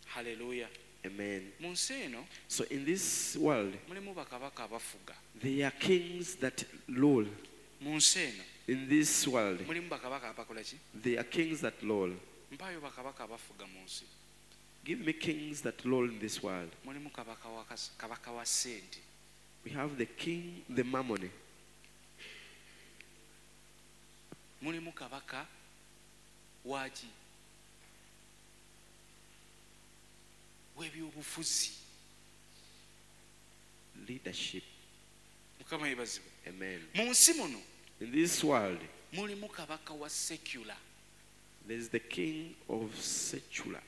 B: Hallelujah.
A: Amen.
B: Mu nsi eno
A: So in this world,
B: mulimu bakabaka abafuga.
A: there are kings that rule.
B: Mu nsi eno
A: In this world,
B: mulimu bakabaka abakola ki?
A: there are kings that rule.
B: Mpaayo bakabaka abafuga mu nsi.
A: Give me kings that rule in this world.
B: Mulimu kabaka wa kas- kabaka wa ssente.
A: We have the king, the mammon.
B: Mulimu kabaka waki? W'ebyobufuzi.
A: Leadership.
B: Mukama yeebazibwe.
A: Amen.
B: Mu nsi muno
A: In this world,
B: mulimu kabaka wa secular.
A: there is the king of secular.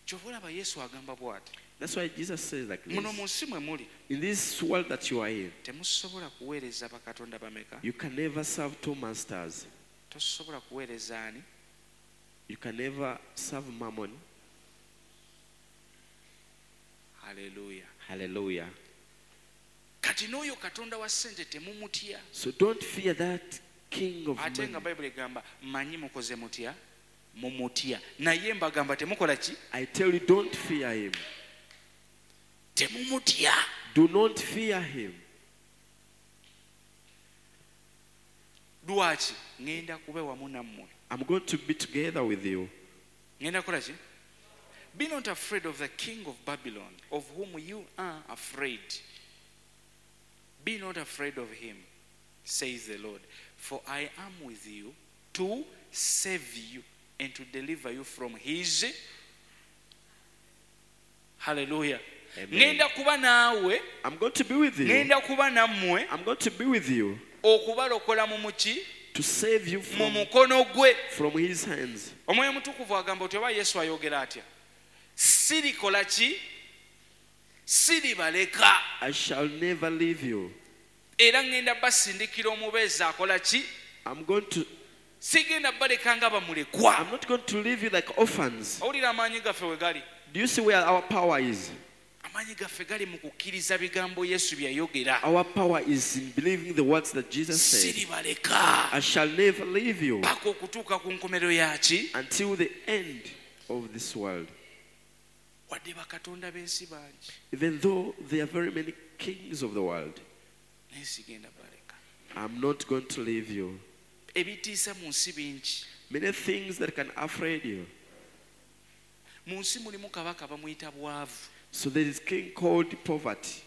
B: Kyova olaba Yesu agamba bw'ati.
A: That's why Jesus says like
B: Muno mu
A: this.
B: nsi mwe muli
A: In this world that you are in,
B: temusobola kuweereza bakatonda bameka?
A: you can never serve two masters.
B: Tosobola kuweereza ani?
A: You can never serve mammon.
B: Hallelujah.
A: Hallelujah.
B: Kati n'oyo Katonda wa ssente temumutya.
A: So don't fear that king of
B: Ate nga
A: money.
B: Bayibuli egamba mmanyi mukoze mutya? Mumutya. Naye mbagamba temukola ki?
A: I tell you, don't fear him.
B: Temumutya.
A: Do not fear him.
B: Lwaki? Ŋŋenda kuba wamu nammwe.
A: I'm going to be together with you.
B: Ŋŋenda kukola ki? Be not afraid of the king of Babylon, of whom you are afraid. Be not afraid of him, says the Lord, for I am with you to save you and to deliver you from his. Hallelujah.
A: Amen.
B: Ŋŋenda kuba naawe,
A: I'm going to be with you.
B: ŋŋenda kuba nammwe
A: I'm going to be with you
B: okubalokola mu muki
A: to save you
B: mu
A: from,
B: mukono gwe.
A: from his hands.
B: Omwoyo Omutukuvu agamba oti oba Yesu ayogera atya? Sirikola ki? Siribaleka.
A: I shall never leave you.
B: Era ŋŋenda basindikira omubeezi akola ki?
A: I'm going to
B: Sigenda baleka nga bamulekwa.
A: I'm not going to leave you like orphans.
B: Owulira amaanyi gaffe we gali?
A: Do you see where our power is?
B: Amaanyi gaffe gali mu kukkiriza bigambo Yesu bye yayogera.
A: Our power is in believing the words that Jesus said.
B: Siribaleka
A: I shall never leave you
B: paka okutuuka ku nkomerero yaki?
A: until the end of this world.
B: Wadde bakatonda b'ensi bangi,
A: Even though there are very many kings of the world,
B: naye sigenda baleka.
A: I'm not going to leave you.
B: Ebitiisa mu nsi bingi.
A: Many things that can afraid you.
B: Mu nsi mulimu kabaka bamuyita bwavu.
A: So there is king called poverty,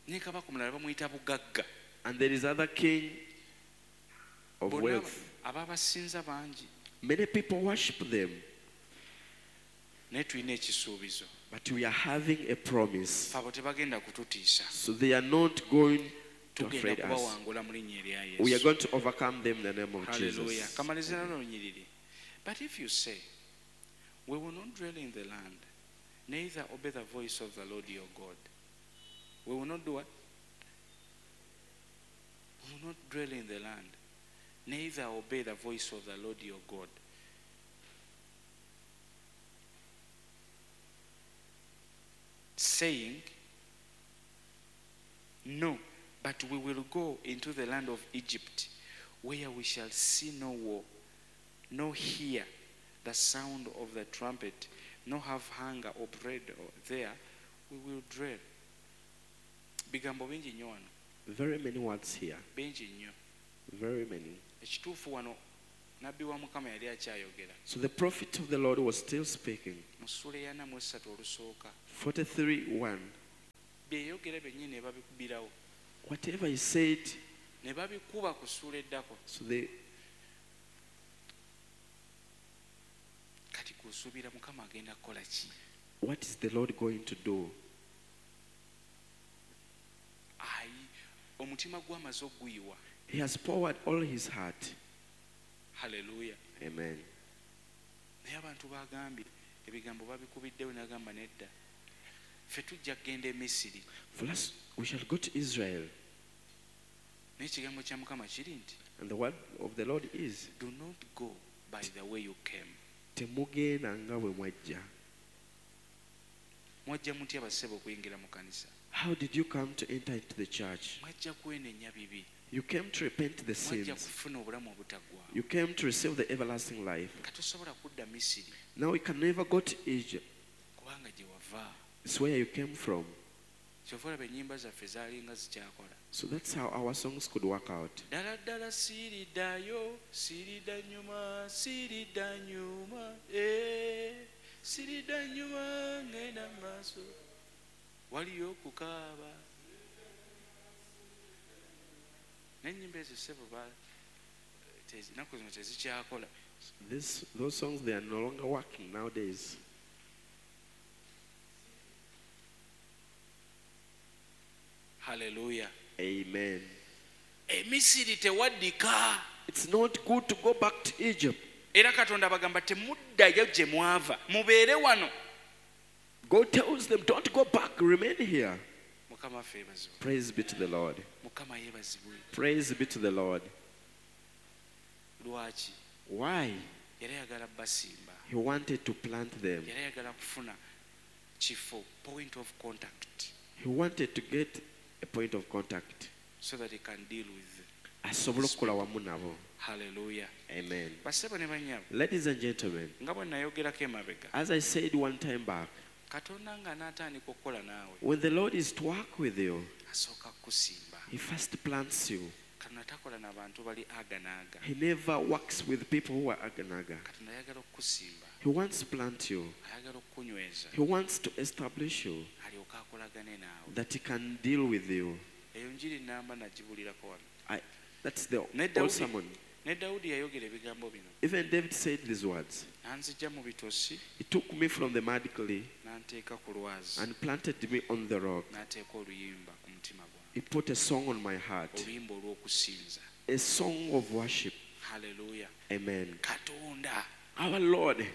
B: Ne kabaka omulala bamuyita bugagga.
A: and there is other king of
B: Bonna
A: wealth.
B: ababasinza bangi.
A: Many people worship them,
B: Naye tulina ekisuubizo.
A: but we are having a promise.
B: Ffe abo tebagenda kututiisa.
A: So they are not going to
B: Tugenda
A: afraid us.
B: kubawangula mu linnya erya
A: We are
B: Yesu.
A: going to overcome them in the name of
B: Hallelujah.
A: Jesus.
B: Kamalize nalo lunyiriri. But if you say, we will not dwell in the land, neither obey the voice of the Lord your God. We will not do what? We will not dwell in the land, neither obey the voice of the Lord your God. Saying, no, but we will go into the land of Egypt, where we shall see no war, nor hear the sound of the trumpet, nor have hunger or bread there, we will dwell. Bigambo bingi nnyo wano,
A: Very many words here.
B: bingi nnyo.
A: Very many.
B: Ekituufu wano Nabbi wa Mukama yali akyayogera.
A: So the prophet of the Lord was still speaking.
B: Mu ssuula eyana mu essatu olusooka.
A: forty-three one.
B: Bye yayogera byennyini ne babikubirawo.
A: Whatever he said,
B: Ne babikuba ku ssuula eddako.
A: So they
B: Kati kusuubira Mukama agenda kukola ki?
A: What is the Lord going to do?
B: Ayi, omutima gw'amaze okuguyiwa.
A: He has poured all his heart.
B: Hallelujah.
A: Amen.
B: Naye abantu bagambye ebigambo babikubiddewo n'agamba nedda. Ffe tujja kugenda e Misiri.
A: For us, we shall go to Israel.
B: Naye ekigambo kya Mukama kiri nti,
A: And the word of the Lord is,
B: do not go by the way you came.
A: Temugenda nga bwe mwajja.
B: Mwajja mutya bassebo okuyingira mu kanisa?
A: How did you come to enter into the church?
B: Mwajja kwenenya bibi.
A: You came to repent the
B: Mwajja
A: sins.
B: kufuna obulamu obutaggwaawo.
A: You came to receive the everlasting life.
B: Kati tosobola kudda Misiri.
A: Now you can never go to Egypt.
B: Kubanga gye wava.
A: It's where you came from.
B: Kyova olaba ennyimba zaffe zaalinga zikyakola.
A: So that's how our songs could work out.
B: Ddala ddala siriddayo, siridda nnyuma, siridda nnyuma, eh, siridda nnyuma, ngenda mu maaso. Waliyo okukaaba. N'ennyimba ezo ssebo ba-, tezi-, ennaku zino tezikyakola.
A: This, those songs, they are no longer working nowadays.
B: Hallelujah.
A: Amen.
B: Emisiri tewaddika.
A: It's not good to go back to Egypt.
B: Era Katonda abagamba temuddayo gye mwava, mubeere wano.
A: God tells them, don't go back, remain here.
B: Mukama waffe yeebazibwe.
A: Praise be to the Lord.
B: Mukama yeebazibwe.
A: Praise be to the Lord.
B: Lwaki?
A: Why?
B: Yali ayagala basimba.
A: He wanted to plant them.
B: Yali ayagala kufuna kifo, point of contact.
A: He wanted to get a point of contact.
B: So that he can deal with.
A: Asobole okukola wamu nabo.
B: Hallelujah.
A: Amen.
B: Bassebo ne bannyabo.
A: Ladies and gentlemen,
B: Nga bwe nayogerako emabega.
A: As I said one time back,
B: Katonda ng'anaatandika okukola naawe.
A: When the Lord is to work with you,
B: asooka kukusimba.
A: He first plants you.
B: Katonda takola na bantu bali aga n'aga.
A: He never works with people who are aga n'aga.
B: Katonda ayagala okukusimba.
A: He wants to plant you.
B: Ayagala okukunyweza.
A: He wants to establish you.
B: Alyoke akolagane naawe.
A: That he can deal with you.
B: Eyo njiri nnamba nagibulirako wano.
A: I, that's the
B: Ne
A: old
B: Dawudi,
A: sermon.
B: ne Dawudi yayogera ebigambo bino.
A: Even David said these words.
B: N'anzija mu bitosi.
A: He took me from the mud clay
B: N'anteeka ku lwazi.
A: and planted me on the rock.
B: N'ateeka oluyimba ku mutima gwange.
A: He put a song on my heart.
B: Oluyimba olw'okusinza.
A: A song of worship.
B: Hallelujah.
A: Amen.
B: Katonda.
A: Our Lord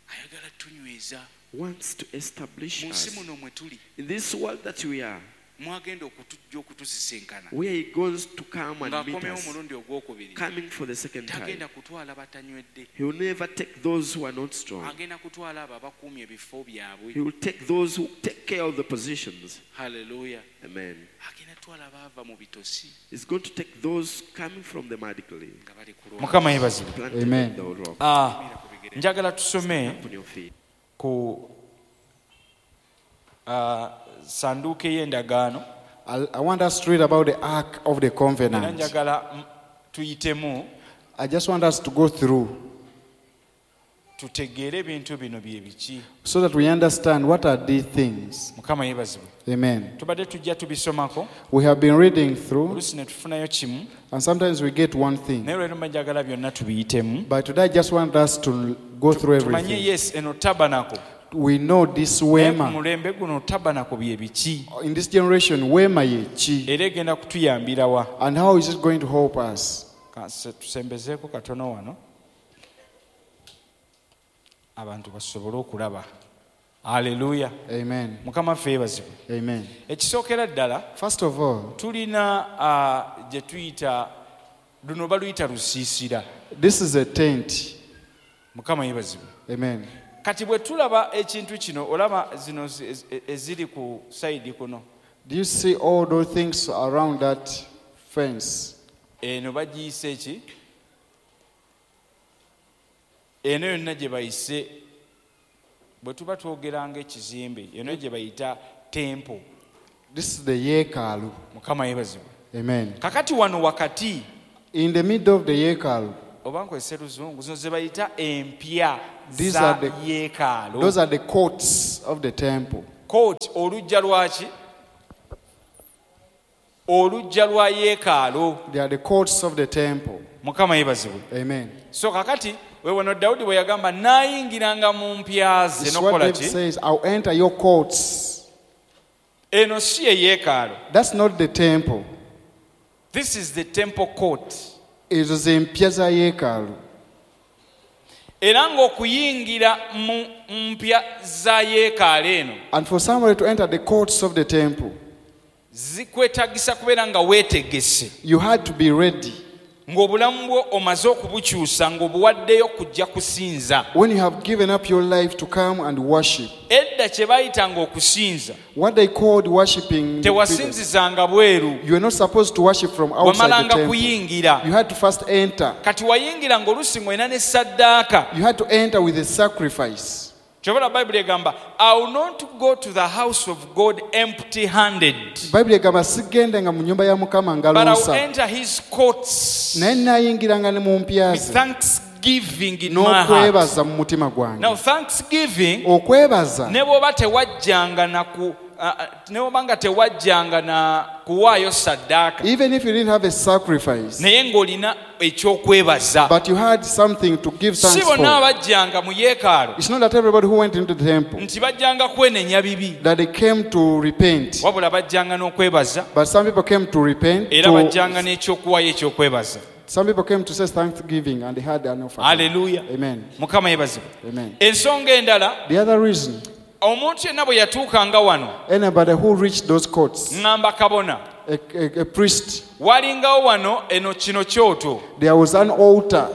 B: ayagala tunyweza.
A: wants to establish
B: Mu nsi
A: us.
B: muno mwe tuli.
A: In this world that we are,
B: Mwagenda okutujja okutusisinkana.
A: where he goes to come and meet
B: Ng'akomyewo
A: us,
B: omulundi ogwokubiri.
A: coming for the second time,
B: Tagenda kutwala batanywedde.
A: he will never take those who are not strong.
B: Agenda kutwala abo abakuumye ebifo byabwe.
A: He will take those who take care of the positions.
B: Hallelujah.
A: Amen.
B: Agenda kutwala abaava mu bitosi.
A: He's going to take those coming from the mud clay.
B: Nga bali ku lwazi. Mukama yeebazibwe.
A: Planted
F: Amen.
A: on the rock.
B: Ah, njagala tusome
A: Upon your feet.
B: ku, ah, sanduuke y'endagaano.
F: I, I want us to read about the Ark of the
B: Era
F: Covenant.
B: njagala m-, tuyitemu.
F: I just want us to go through
B: Tutegeere ebintu bino bye biki.
F: so that we understand what are these things.
B: Mukama yeebazibwe.
F: Amen.
B: Tubadde tujja tubisomako.
F: We have been reading through,
B: Oluusi ne tufunayo kimu.
F: and sometimes we get one thing.
B: Naye leero mba njagala byonna tubiyitemu.
F: But today I just want us to go through
B: Tumanye,
F: everything.
B: yes, eno tabernacle.
F: We know this
B: Naye ku
F: wema.
B: mulembe guno tabernacle bye biki?
F: In this generation, wema ye ki?
B: Era egenda kutuyambira wa?
F: And how is it going to help us?
B: Ka-, se-, tusembezeeko katono wano. Abantu basobole okulaba. Hallelujah.
F: Amen.
B: Mukama waffe yeebazibwe.
F: Amen.
B: Ekisookera ddala,
F: First of all,
B: tulina, ah, gye tuyita, luno baluyita lusiisira.
F: This is a tent.
B: Mukama yeebazibwe.
F: Amen.
B: Kati bwe tulaba ekintu kino, olaba zino zi-, ez-, eziri ku sayidi kuno.
F: Do you see all those things around that fence?
B: Eno bagiyise ki? Eno yonna gye bayise, bwe tuba twogera ng'ekizimbe, eno gye bayita temple.
F: This is the yeekaalu.
B: Mukama yeebazibwe.
F: Amen.
B: Kakati wano wakati,
F: In the middle of the yeekaalu.
B: Oba nkozese luzungu, zino ze bayita empya
F: These
B: za
F: are the-
B: yeekaalu.
F: Those are the courts of the temple.
B: Court, oluggya lwaki? Oluggya lwa yeekaalu.
F: They are the courts of the temple.
B: Mukama yeebazibwe.
F: Amen.
B: So kakati we wano Dawudi bwe yagamba naayingiranga mu mpya ze
F: This is what
B: n'okukola
F: David
B: ki?
F: says, I'll enter your courts.
B: Eno si ye yeekaalu.
F: That's not the temple.
B: This is the temple court.
F: Ezo ze mpya za yeekaalu.
B: Era ng'okuyingira mu mpya za yeekaalu eno
F: And for somebody to enter the courts of the temple,
B: zikwetaagisa kubeera nga weetegese.
F: You had to be ready.
B: Ng'obulamu bwo omaze okubukyusa ng'obuwaddeyo kujja kusinza.
F: When you have given up your life to come and worship,
B: Edda kye bayitanga okusinza,
F: what they called worshiping,
B: tewasinzizanga bweru.
F: you are not supposed to worship from outside the
B: Wamalanga
F: temple.
B: kuyingira.
F: You had to first enter.
B: Kati wayingira ng'oluusi ng'olina ne saddaaka.
F: You had to enter with a sacrifice.
B: Kyova Bayibuli egamba, I will not go to the house of God empty handed,
F: Bayibuli egamba sigendenga mu nnyumba ya Mukama
B: but I will
F: ngalo nsa,
B: enter his courts
F: naye naayingiranga ne mu mpya
B: with
F: ze
B: thanksgiving in my heart.
F: n'okwebaza mu mutima gwange.
B: Now thanksgiving,
F: Okwebaza,
B: ne bw'oba tewajjanga na ku ah, ah, ne bw'oba nga tewajjanga na kuwaayo saddaaka,
F: even if you didn't have a sacrifice,
B: naye ng'olina ekyokwebaza.
F: but you had something to give
B: Si
F: thanks
B: bonna
F: for.
B: abajjanga mu yeekaalu
F: It's not that everybody who went into the temple
B: nti bajjanga kwenenya bibi,
F: that they came to repent,
B: wabula bajjanga n'okwebaza,
F: but some people came to repent.
B: era bajjanga
F: To,
B: n'ekyokuwaayo ekyokwebaza.
F: some people came to say thanksgiving and they had an offering.
B: Haleluya.
F: Amen.
B: Mukama yeebazibwe.
F: Amen.
B: Ensonga endala,
F: The other reason,
B: omuntu yenna bwe yatuukanga wano,
F: anybody who reached those courts,
B: ŋŋamba kabona,
F: a, a, a priest,
B: walingawo wano eno kino kyoto,
F: there was an altar.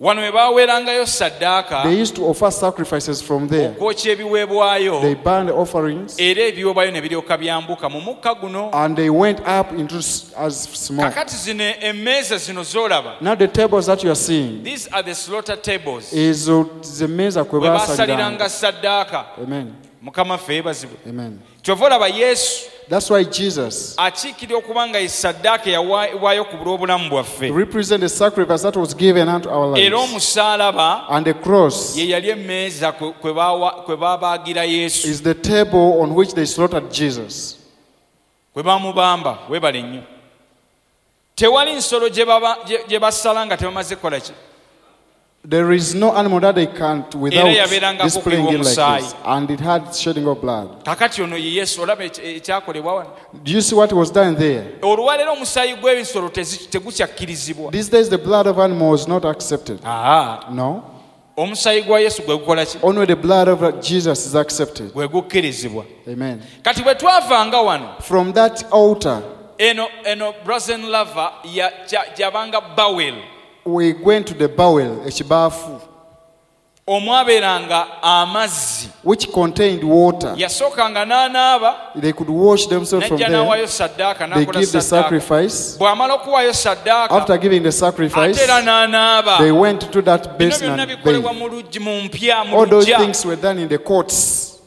B: Wano we baaweerangayo saddaaka,
F: They used to offer sacrifices from there.
B: okwokya ebiweebwayo,
F: They burned offerings
B: era ebiweebwayo ne biryoka byambuka mu mukka guno.
F: and they went up into s- as smoke.
B: Kakati zino emmeeza zino z'olaba,
F: Now the tables that you are seeing
B: these are the slaughter tables,
F: is uh, the meza kwe
B: we baasaliranga
F: baasaliranga.
B: saddaaka.
F: Amen.
B: Mukama ffe yeebazibwe.
F: Amen.
B: Kyova olaba Yesu
F: That's why Jesus
B: akiikirira okuba nga ye saddaaka eyaweebwayo ku lw'obulamu bwaffe,
F: represents the sacrifice that was given unto our
B: era
F: lives.
B: omusaalaba
F: And the cross
B: ye yali emmeeza kwe- kwe baawa- kwe baabaagira Yesu,
F: is the table on which they slaughtered Jesus.
B: kwe baamubamba. Weebale nnyo. Tewali nsolo gye baba- gye- gye basala nga tebamaze kukola ki?
F: There is no animal that they can't without
B: Era yabeerangako
F: displaying it like
B: omusayi.
F: this. And it had shedding of blood.
B: Kakati ono ye Yesu, olaba ekya- ekyakolebwa wano.
F: Do you see what was done there?
B: Olwaleero omusaayi gw'ebisolo tezi- tegukyakkirizibwa.
F: These days the blood of animals is not accepted.
B: Aa,
F: No.
B: omusaayi gwa Yesu gwe gukola ki?
F: Only the blood of Jesus is accepted.
B: Gwe gukkirizibwa.
F: Amen.
B: Kati bwe twavanga wano,
F: From that altar,
B: eno eno brazen laver ya- kya- gyabanga bawel,
F: we went to the bowel, ekibafu,
B: omwabeeranga amazzi.
F: which contained water.
B: Yasookanga n'anaaba,
F: They could wash themselves from
B: n'ajja
F: there.
B: n'awaayo saddaaka,
F: They
B: n'akola
F: give the
B: saddaaka.
F: sacrifice.
B: Bw'amala okuwaayo saddaaka,
F: After giving the sacrifice,
B: ate era n'anaaba.
F: they went to that
B: Bino
F: basin
B: byonna
F: and
B: bikolebwa
F: bathed.
B: mu luggi, mu mpya, mu
F: All those
B: luggya.
F: things were done in the courts.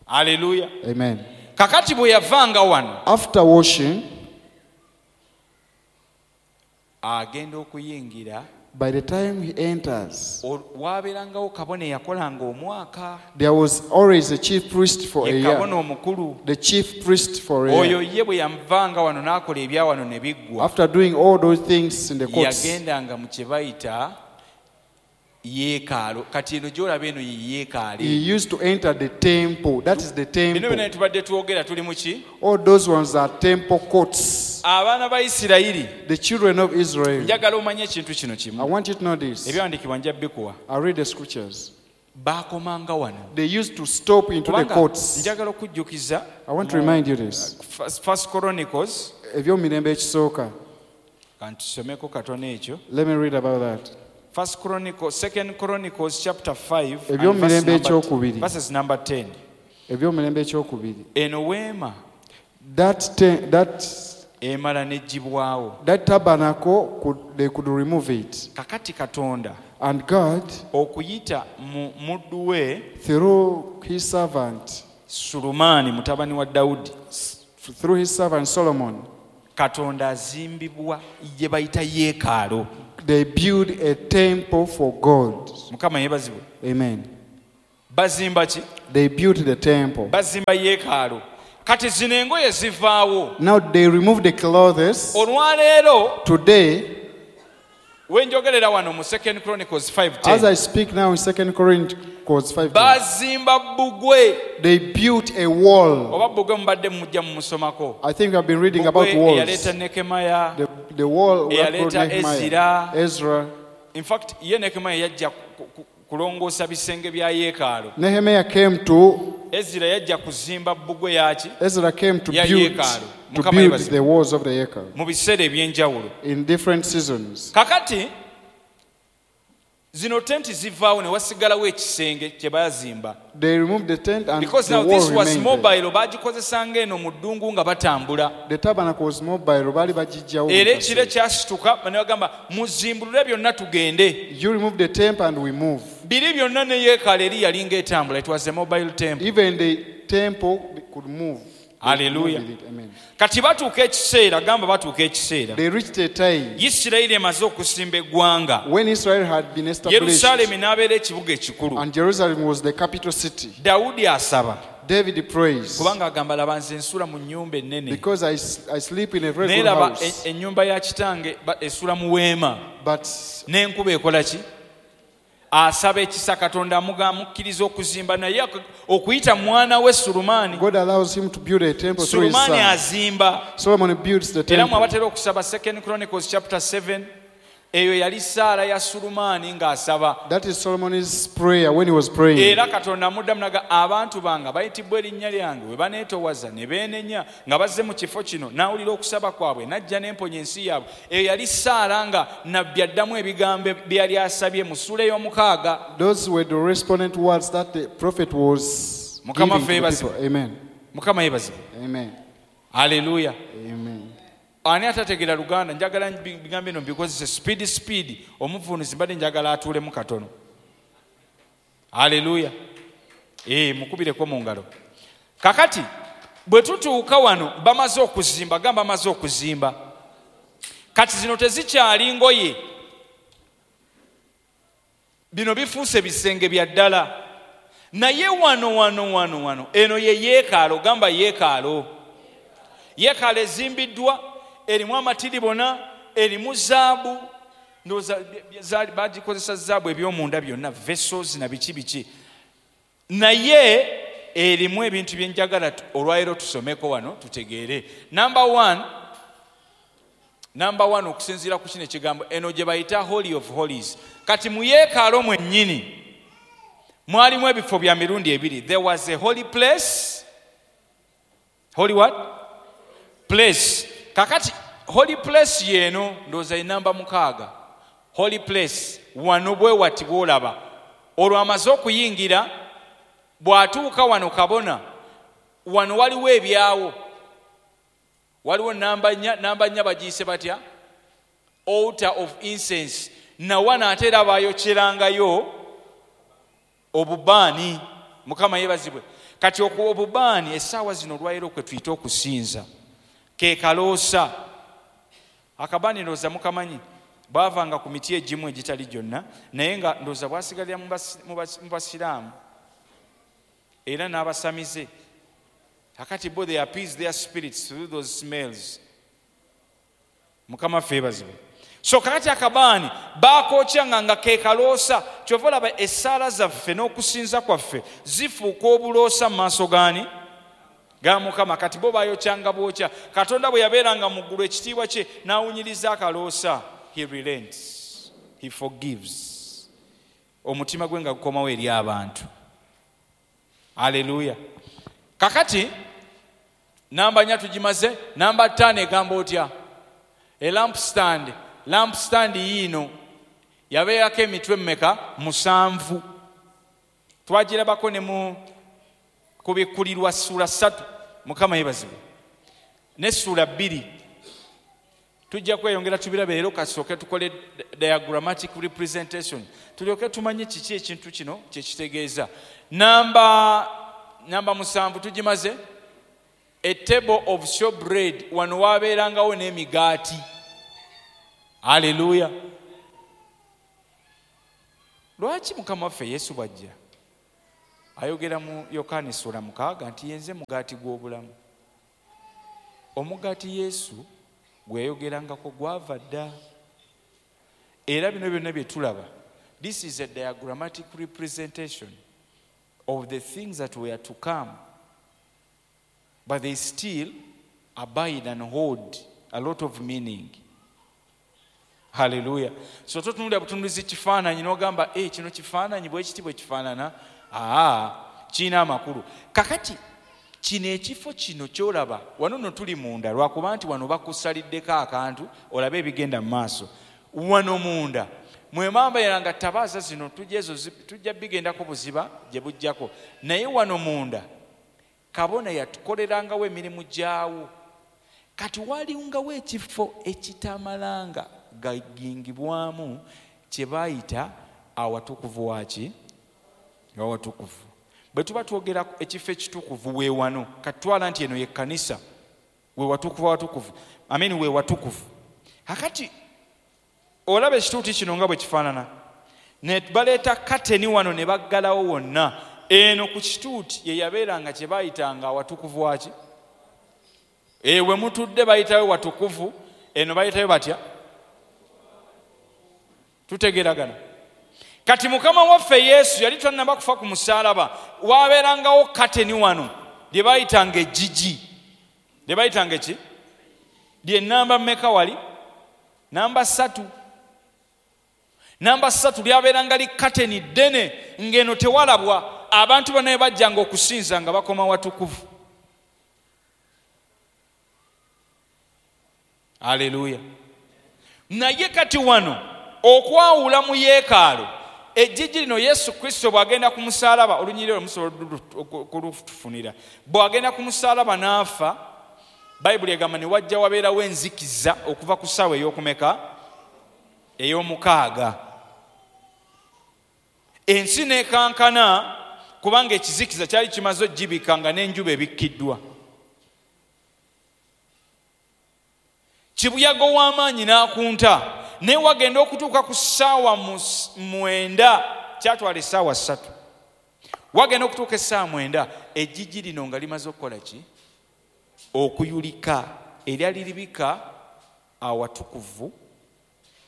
B: Aleluya.
F: Amen.
B: Kakati bwe yavanga wano,
F: After washing,
B: agenda okuyingira,
F: by the time he enters,
B: ol- waabeerangawo kabona eyakolanga omwaka,
F: there was always a chief priest for a
B: ye kabona
F: year.
B: omukulu.
F: The chief priest for a
B: Oyo
F: year.
B: ye bwe yavanga wano n'akola ebya wano ne biggwa,
F: After doing all those things in the courts,
B: yagendanga mu kye bayita yeekaalo. Kati eno gy'olaba eno ye yeekaalo.
F: he used to enter the temple. That is the
B: Bino byonna
F: temple.
B: bye tubadde twogera tuli mu ki?
F: All those ones are temple courts.
B: Abaana ba Isirayiri,
F: The children of Israel.
B: njagala omanye ekintu kino
F: I
B: kimu.
F: want you to know this.
B: Ebyawandiikibwa nja bikuwa.
F: I read the scriptures.
B: Baakomanga wano.
F: They used to stop into the
B: Kubanga
F: courts.
B: njagala okujjukiza
F: I want to remind you this.
B: First- First Chronicles,
F: Ebyomirembe ekisooka.
B: kantusomeko katono ekyo.
F: Let me read about that.
B: First Chronicles, Second Chronicles chapter five and
F: Ebyomirembe
B: verse number-
F: ekyokubiri.
B: verses number ten.
F: Ebyomirembe ekyokubiri.
B: Eno weema
F: That, te- that,
B: emala n'eggyibwawo.
F: that tabernacle, could, they could remove it.
B: Kakati Katonda
F: And God,
B: okuyita mu muddu we
F: through his servant,
B: Sulemaani mutabani wa Dawudi,
F: through his servant Solomon,
B: Katonda azimbibwa gye bayita yeekaalo.
F: They build a temple for God.
B: Mukama yeebazibwe.
F: Amen.
B: Bazimba ki?
F: They built the temple.
B: Bazimba yeekaalo. Kati zino engoye zivaawo.
F: Now they remove the clothes.
B: Olwaleero
F: Today,
B: we njogerera wano mu Second Chronicles five
F: as
B: ten.
F: I speak now in Second Chronicles five ten,
B: Bazimba bbugwe.
F: they built a wall.
B: Oba bbugwe mubadde mujja mumusomako.
F: I think I've been reading about
B: Bbugwe
F: walls.
B: eyaleeta Nehemiah.
F: The, the wall that brought
B: Eyaleeta
F: Nehemiah,
B: Ezra.
F: Ezra.
B: In fact, ye Nehemiah yajja ku- ku- kulongoosa bisenge bya yeekaalo.
F: Nehemiah came to
B: Ezra yajja kuzimba bbugwe yaki?
F: Ezra came to
B: Ya
F: build,
B: yeekaalu.
F: to
B: Mukama
F: build
B: yeebazibwe.
F: the walls of the yeekalu
B: Mu biseera eby'enjawulo.
F: in different seasons.
B: Kakati zino tenti zivaawo ne wasigalawo ekisenge kye baazimba.
F: They removed the tent and
B: Because
F: the
B: now
F: wall
B: this was
F: remained there.
B: mobile, baagikozesanga eno mu ddungu nga batambula.
F: The tabernacle was mobile, baali bagiggyawo
B: Era
F: buli
B: ekiro
F: kaseera.
B: kyasituka ne bagamba muzimbulule byonna tugende.
F: You remove the tent and we move.
B: Biri byonna ne yeekaalo eri yalinga etambula. It was a mobile temple.
F: Even the temple could move. They could
B: Hallelujah.
F: move with it. Amen.
B: Kati batuuka ekiseera, gamba batuuka ekiseera.
F: They reached a time
B: Isirayiri emaze okusimba eggwanga.
F: when Israel had been established
B: Yerusaalemi n'abeera ekibuga ekikulu.
F: and Jerusalem was the capital city.
B: Dawudi asaba.
F: David prays
B: Kubanga agamba laba nze nsula mu nnyumba ennene.
F: because I, s- I sleep in a very
B: Naye
F: good
B: laba
F: house.
B: e- ennyumba ya kitange ba- esula mu weema.
F: But
B: N'enkuba ekola ki? Asaba ekisa Katonda amuga- amukkiriza okuzimba naye ak- okuyita mwana we Sulemaani.
F: God allows him to build a temple through his
B: Sulemaani
F: son.
B: azimba.
F: Solomon builds the
B: Era mwe
F: temple.
B: abatera okusaba Second Chronicles chapter seven, eyo yali ssaala ya Sulemaani ng'asaba.
F: That is Solomon's prayer when he was praying.
B: Era Katonda amuddamu n'agamba abantu bange bayitibwa erinnya lyange bwe baneetowaza ne beenenya nga bazze mu kifo kino n'awulira okusaba kwabwe n'ajja n'emponya ensi yaabwe. Eyo yali ssaala nga nabbi addamu ebigambo bye yali asabye mu ssuula ey'omukaaga.
F: Those were the respondent words that the prophet was
B: Mukama
F: giving to the
B: yeebazibwe.
F: people. Amen.
B: Mukama yeebazibwe.
F: Amen.
B: Haleluya.
F: Amen.
B: Ani atategeera Luganda njagala bigambo bino mbikozese speed speed omuvunuzi mbadde njagala atuulemu katono. Haleluya. Eh, mukubireko mu ngalo. Kakati bwe tutuuka wano bamaze okuzimba, gamba bamaze okuzimba. Kati zino tezikyali ngoye. Bino bifuuse bisenge bya ddala. Naye wano wano wano wano eno ye yeekaalo, gamba yeekaalo. Yeekaalo ezimbiddwa erimu amatiribona, erimu zaabu, ndowooza bagikozesa zaabu eby'omunda byonna, vessels na biki biki. Naye erimu ebintu bye njagala olwaleero tusomeko wano tutegeere. Number one, number one okusinziira ku kino ekigambo eno gye bayita Holy of Holies. Kati mu yeekaalo mwennyini mwalimu ebifo bya mirundi ebiri. There was a holy place. Holy what? Place. Kakati holy place yeno ndowooza enamba mukaaga. Holy place wano bwe wati bw'olaba. Olwo amaze okuyingira bw'atuuka wano kabona wano waliwo ebyawo. Waliwo namba nnya, namba nnya bagiyise batya? Altar of incense. Na wano ate era baayokyerangayo obubaani. Mukama yeebazibwe. Kati obubaani essaawa zino olwaleero kwe tuyita okusinza. Ke kaloosa. Akabaani ndowooza mukamanyi. Bwavanga ku miti egimu egitali gyonna, naye nga ndowooza bwasigalira mu basiraamu era n'abasamize. Kakati bo they appease their spirits through those smells. Mukama ffe yeebazibwe. So kakati akabaani baakookyanga nga ke kaloosa. Kyova olaba essaala zaffe n'okusinza kwaffe zifuuka obuloosa mu maaso gaani? Ga Mukama. Kati bo baayokyanga bwokya. Katonda bwe yabeeranga mu ggulu ekitiibwa kye n'awunyiriza akaloosa. He relents. He forgives. Omutima gwe nga gukomawo eri abantu. Haleluya. Kakati namba nnya tugimaze, namba ttaano egamba otya? A lampstand. Lampstand yiino yabeerako emitwe mmeka? Musanvu. Twagirabako ne mu kubikkulirwa ssuula ssatu. Mukama yeebazibwe. Ne ssuula bbiri. Tujja kweyongera tubirabe leero, kasooke tukole diagrammatic representation tulyoke tumanye kiki ekintu kino kye kitegeeza. Namba namba musanvu tugimaze. A table of showbread, wano wabeerangawo n'emigaati. Haleluya. Lwaki Mukama waffe Yesu bw'ajja ayogera mu Yokaana essula mukaaga nti yenze mugaati gw'obulamu. Omugaati Yesu gwe yayogerangako gwava dda. Era bino byonna bye tulaba, this is a diagrammatic representation of the things that were to come, but they still abide and hold a lot of meaning. Hallelujah. So totunulira butunulizi kifaananyi n'ogamba eh, kino kifaananyi bwe kiti bwe kifaanana, aa kirina amakulu. Kakati kino ekifo kino ky'olaba wano nno tuli munda, lwakuba nti wano bakusaliddeko akantu olabe ebigenda mu maaso. Wano munda mwemambayira nga tabaaza zino tujja ezo tujja bigendako buziba gye bujjako, naye wano munda kabona yatukolerangawo emirimu gyawo. Kati walingawo ekifo ekitamalanga gagingibwamu kye bayita awatukuvu waki awatukuvu. Bwe tuba twogera ekifo ekitukuvu we wano, katwala nti eno ye kkanisa, we watukuvu awatukuvu, amen, we watukuvu. Hakati olaba ekituuti kino nga bwe kifaanana, ne baleeta kateni wano ne baggalawo wonna. Eno ku kituuti ye yabeeranga kye bayitanga awatukuvu waki. Ewe mutudde bayitayo watukuvu, eno bayitayo batya? Tutegeragana. Kati Mukama waffe Yesu yali tannaba kufa ku musaalaba, wabeerangawo kateni wano lye bayitanga ejjigi. Lye bayitanga ki? Lye namba mmeka wali? Namba ssatu. Namba ssatu lyabeeranga li kateni ddene ng'eno tewalabwa. Abantu bonna bajjanga okusinza nga bakoma watukuvu. Haleluya. Naye kati wano okwawula mu yeekaalu ejjigi lino Yesu Kristo bw'agenda ku musaalaba, olunyiriri olwo musobola okulufunira, bw'agenda ku musaalaba n'afa, Bayibuli egamba ne wajja wabeerawo enzikiza okuva ku ssaawa ey'okumeka ey'omukaaga. Ensi n'ekankana kubanga ekizikiza kyali kimaze okugibika nga n'enjuba ebikkiddwa. Kibuyaga ow'amaanyi n'akunta, naye wagenda okutuuka ku ssaawa mwenda, kyatwala essaawa ssatu. Wagenda okutuuka essaawa mwenda, ejjigi lino nga limaze okukola ki? Okuyulika, eryali libika awatukuvu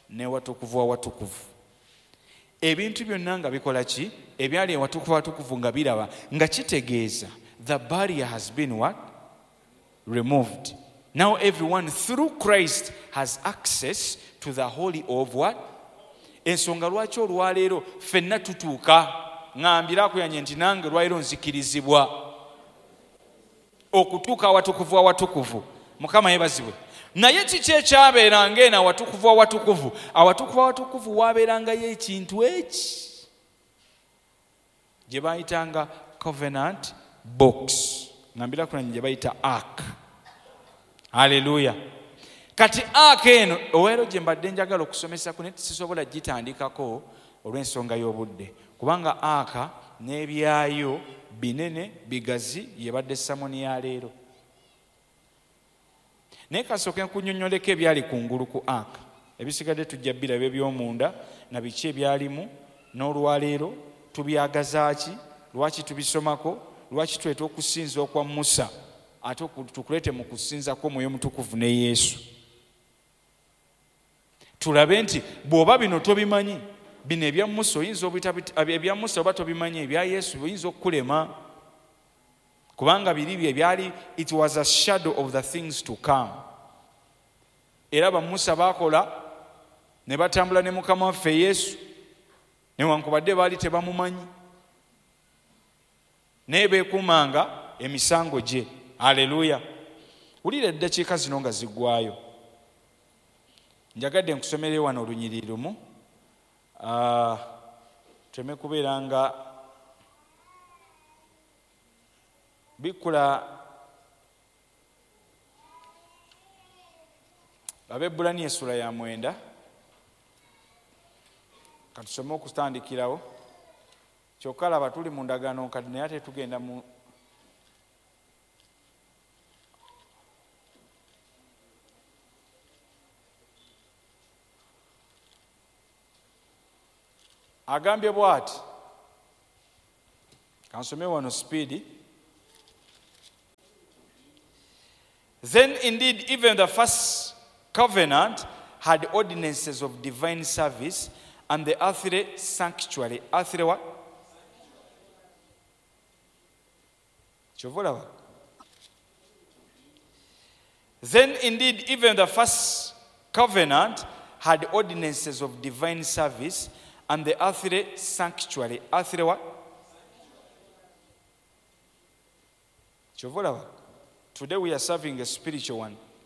B: n'ewatukuvu awatukuvu. Ebintu byonna nga bikola ki? Ebyali ewatukuvu awatukuvu nga biraba, nga kitegeeza the barrier has been what? Removed. Now everyone through Christ has access to the holy of what? Ensonga lwaki olwaleero ffenna tutuuka, ŋŋambira akuyanye nti nange lwaleero nzikirizibwa okutuuka awatukuvu awatukuvu. Mukama yeebazibwe. Naye kiki ekyabeeranga eno awatukuvu awatukuvu? Awatukuvu awatukuvu waabeerangayo ekintu eki gye bayitanga covenant box, ŋŋambira akuyanye gye bayita ark. Haleluya. Kati ark eno olwaleero gye mbadde njagala okusomesako naye sisobola gitandikako olw'ensonga y'obudde, kubanga ark n'ebyayo binene bigazi, yebadde samoni ya leero. Naye kasooke nkunnyonnyoleko ebyali kungulu ku ark, ebisigadde tujja biraba eby'omunda na biki ebyalimu n'olwaleero tubyagaza ki, lwaki tubisomako, lwaki tuleeta okusinza okwa Musa ate tukuleete mu kusinza kw'Omwoyo Omutukuvu ne Yesu. Tulabe nti bw'oba bino tobimanyi, bino ebya Musa oyinza obita, ebya Musa oba tobimanyi, ebya Yesu oyinza okukulema, kubanga biri bye byali, it was a shadow of the things to come. Era ba Musa baakola ne batambula ne Mukama waffe Yesu, newankubadde baali tebamumanyi, naye beekuumanga emisango gye. Haleluya. Wulira eddakiika zino nga ziggwayo, njagadde nkusomere wano olunyiriri lumu, tuleme kubeera nga bikkula Abaebbulaniya essula ya mwenda. Katusome okutandikirawo. Kyokka laba tuli mu ndagaano nkadde, naye ate tugenda mu Agambye bw'ati, kansome wano speed. Then indeed even the first covenant had ordinances of divine service and the earthly sanctuary. Earthly what? Kyova olaba. Then indeed even the first covenant had ordinances of divine service and the earthly sanctuary. Earthly what? Kyova olaba. Today we are serving a spiritual one.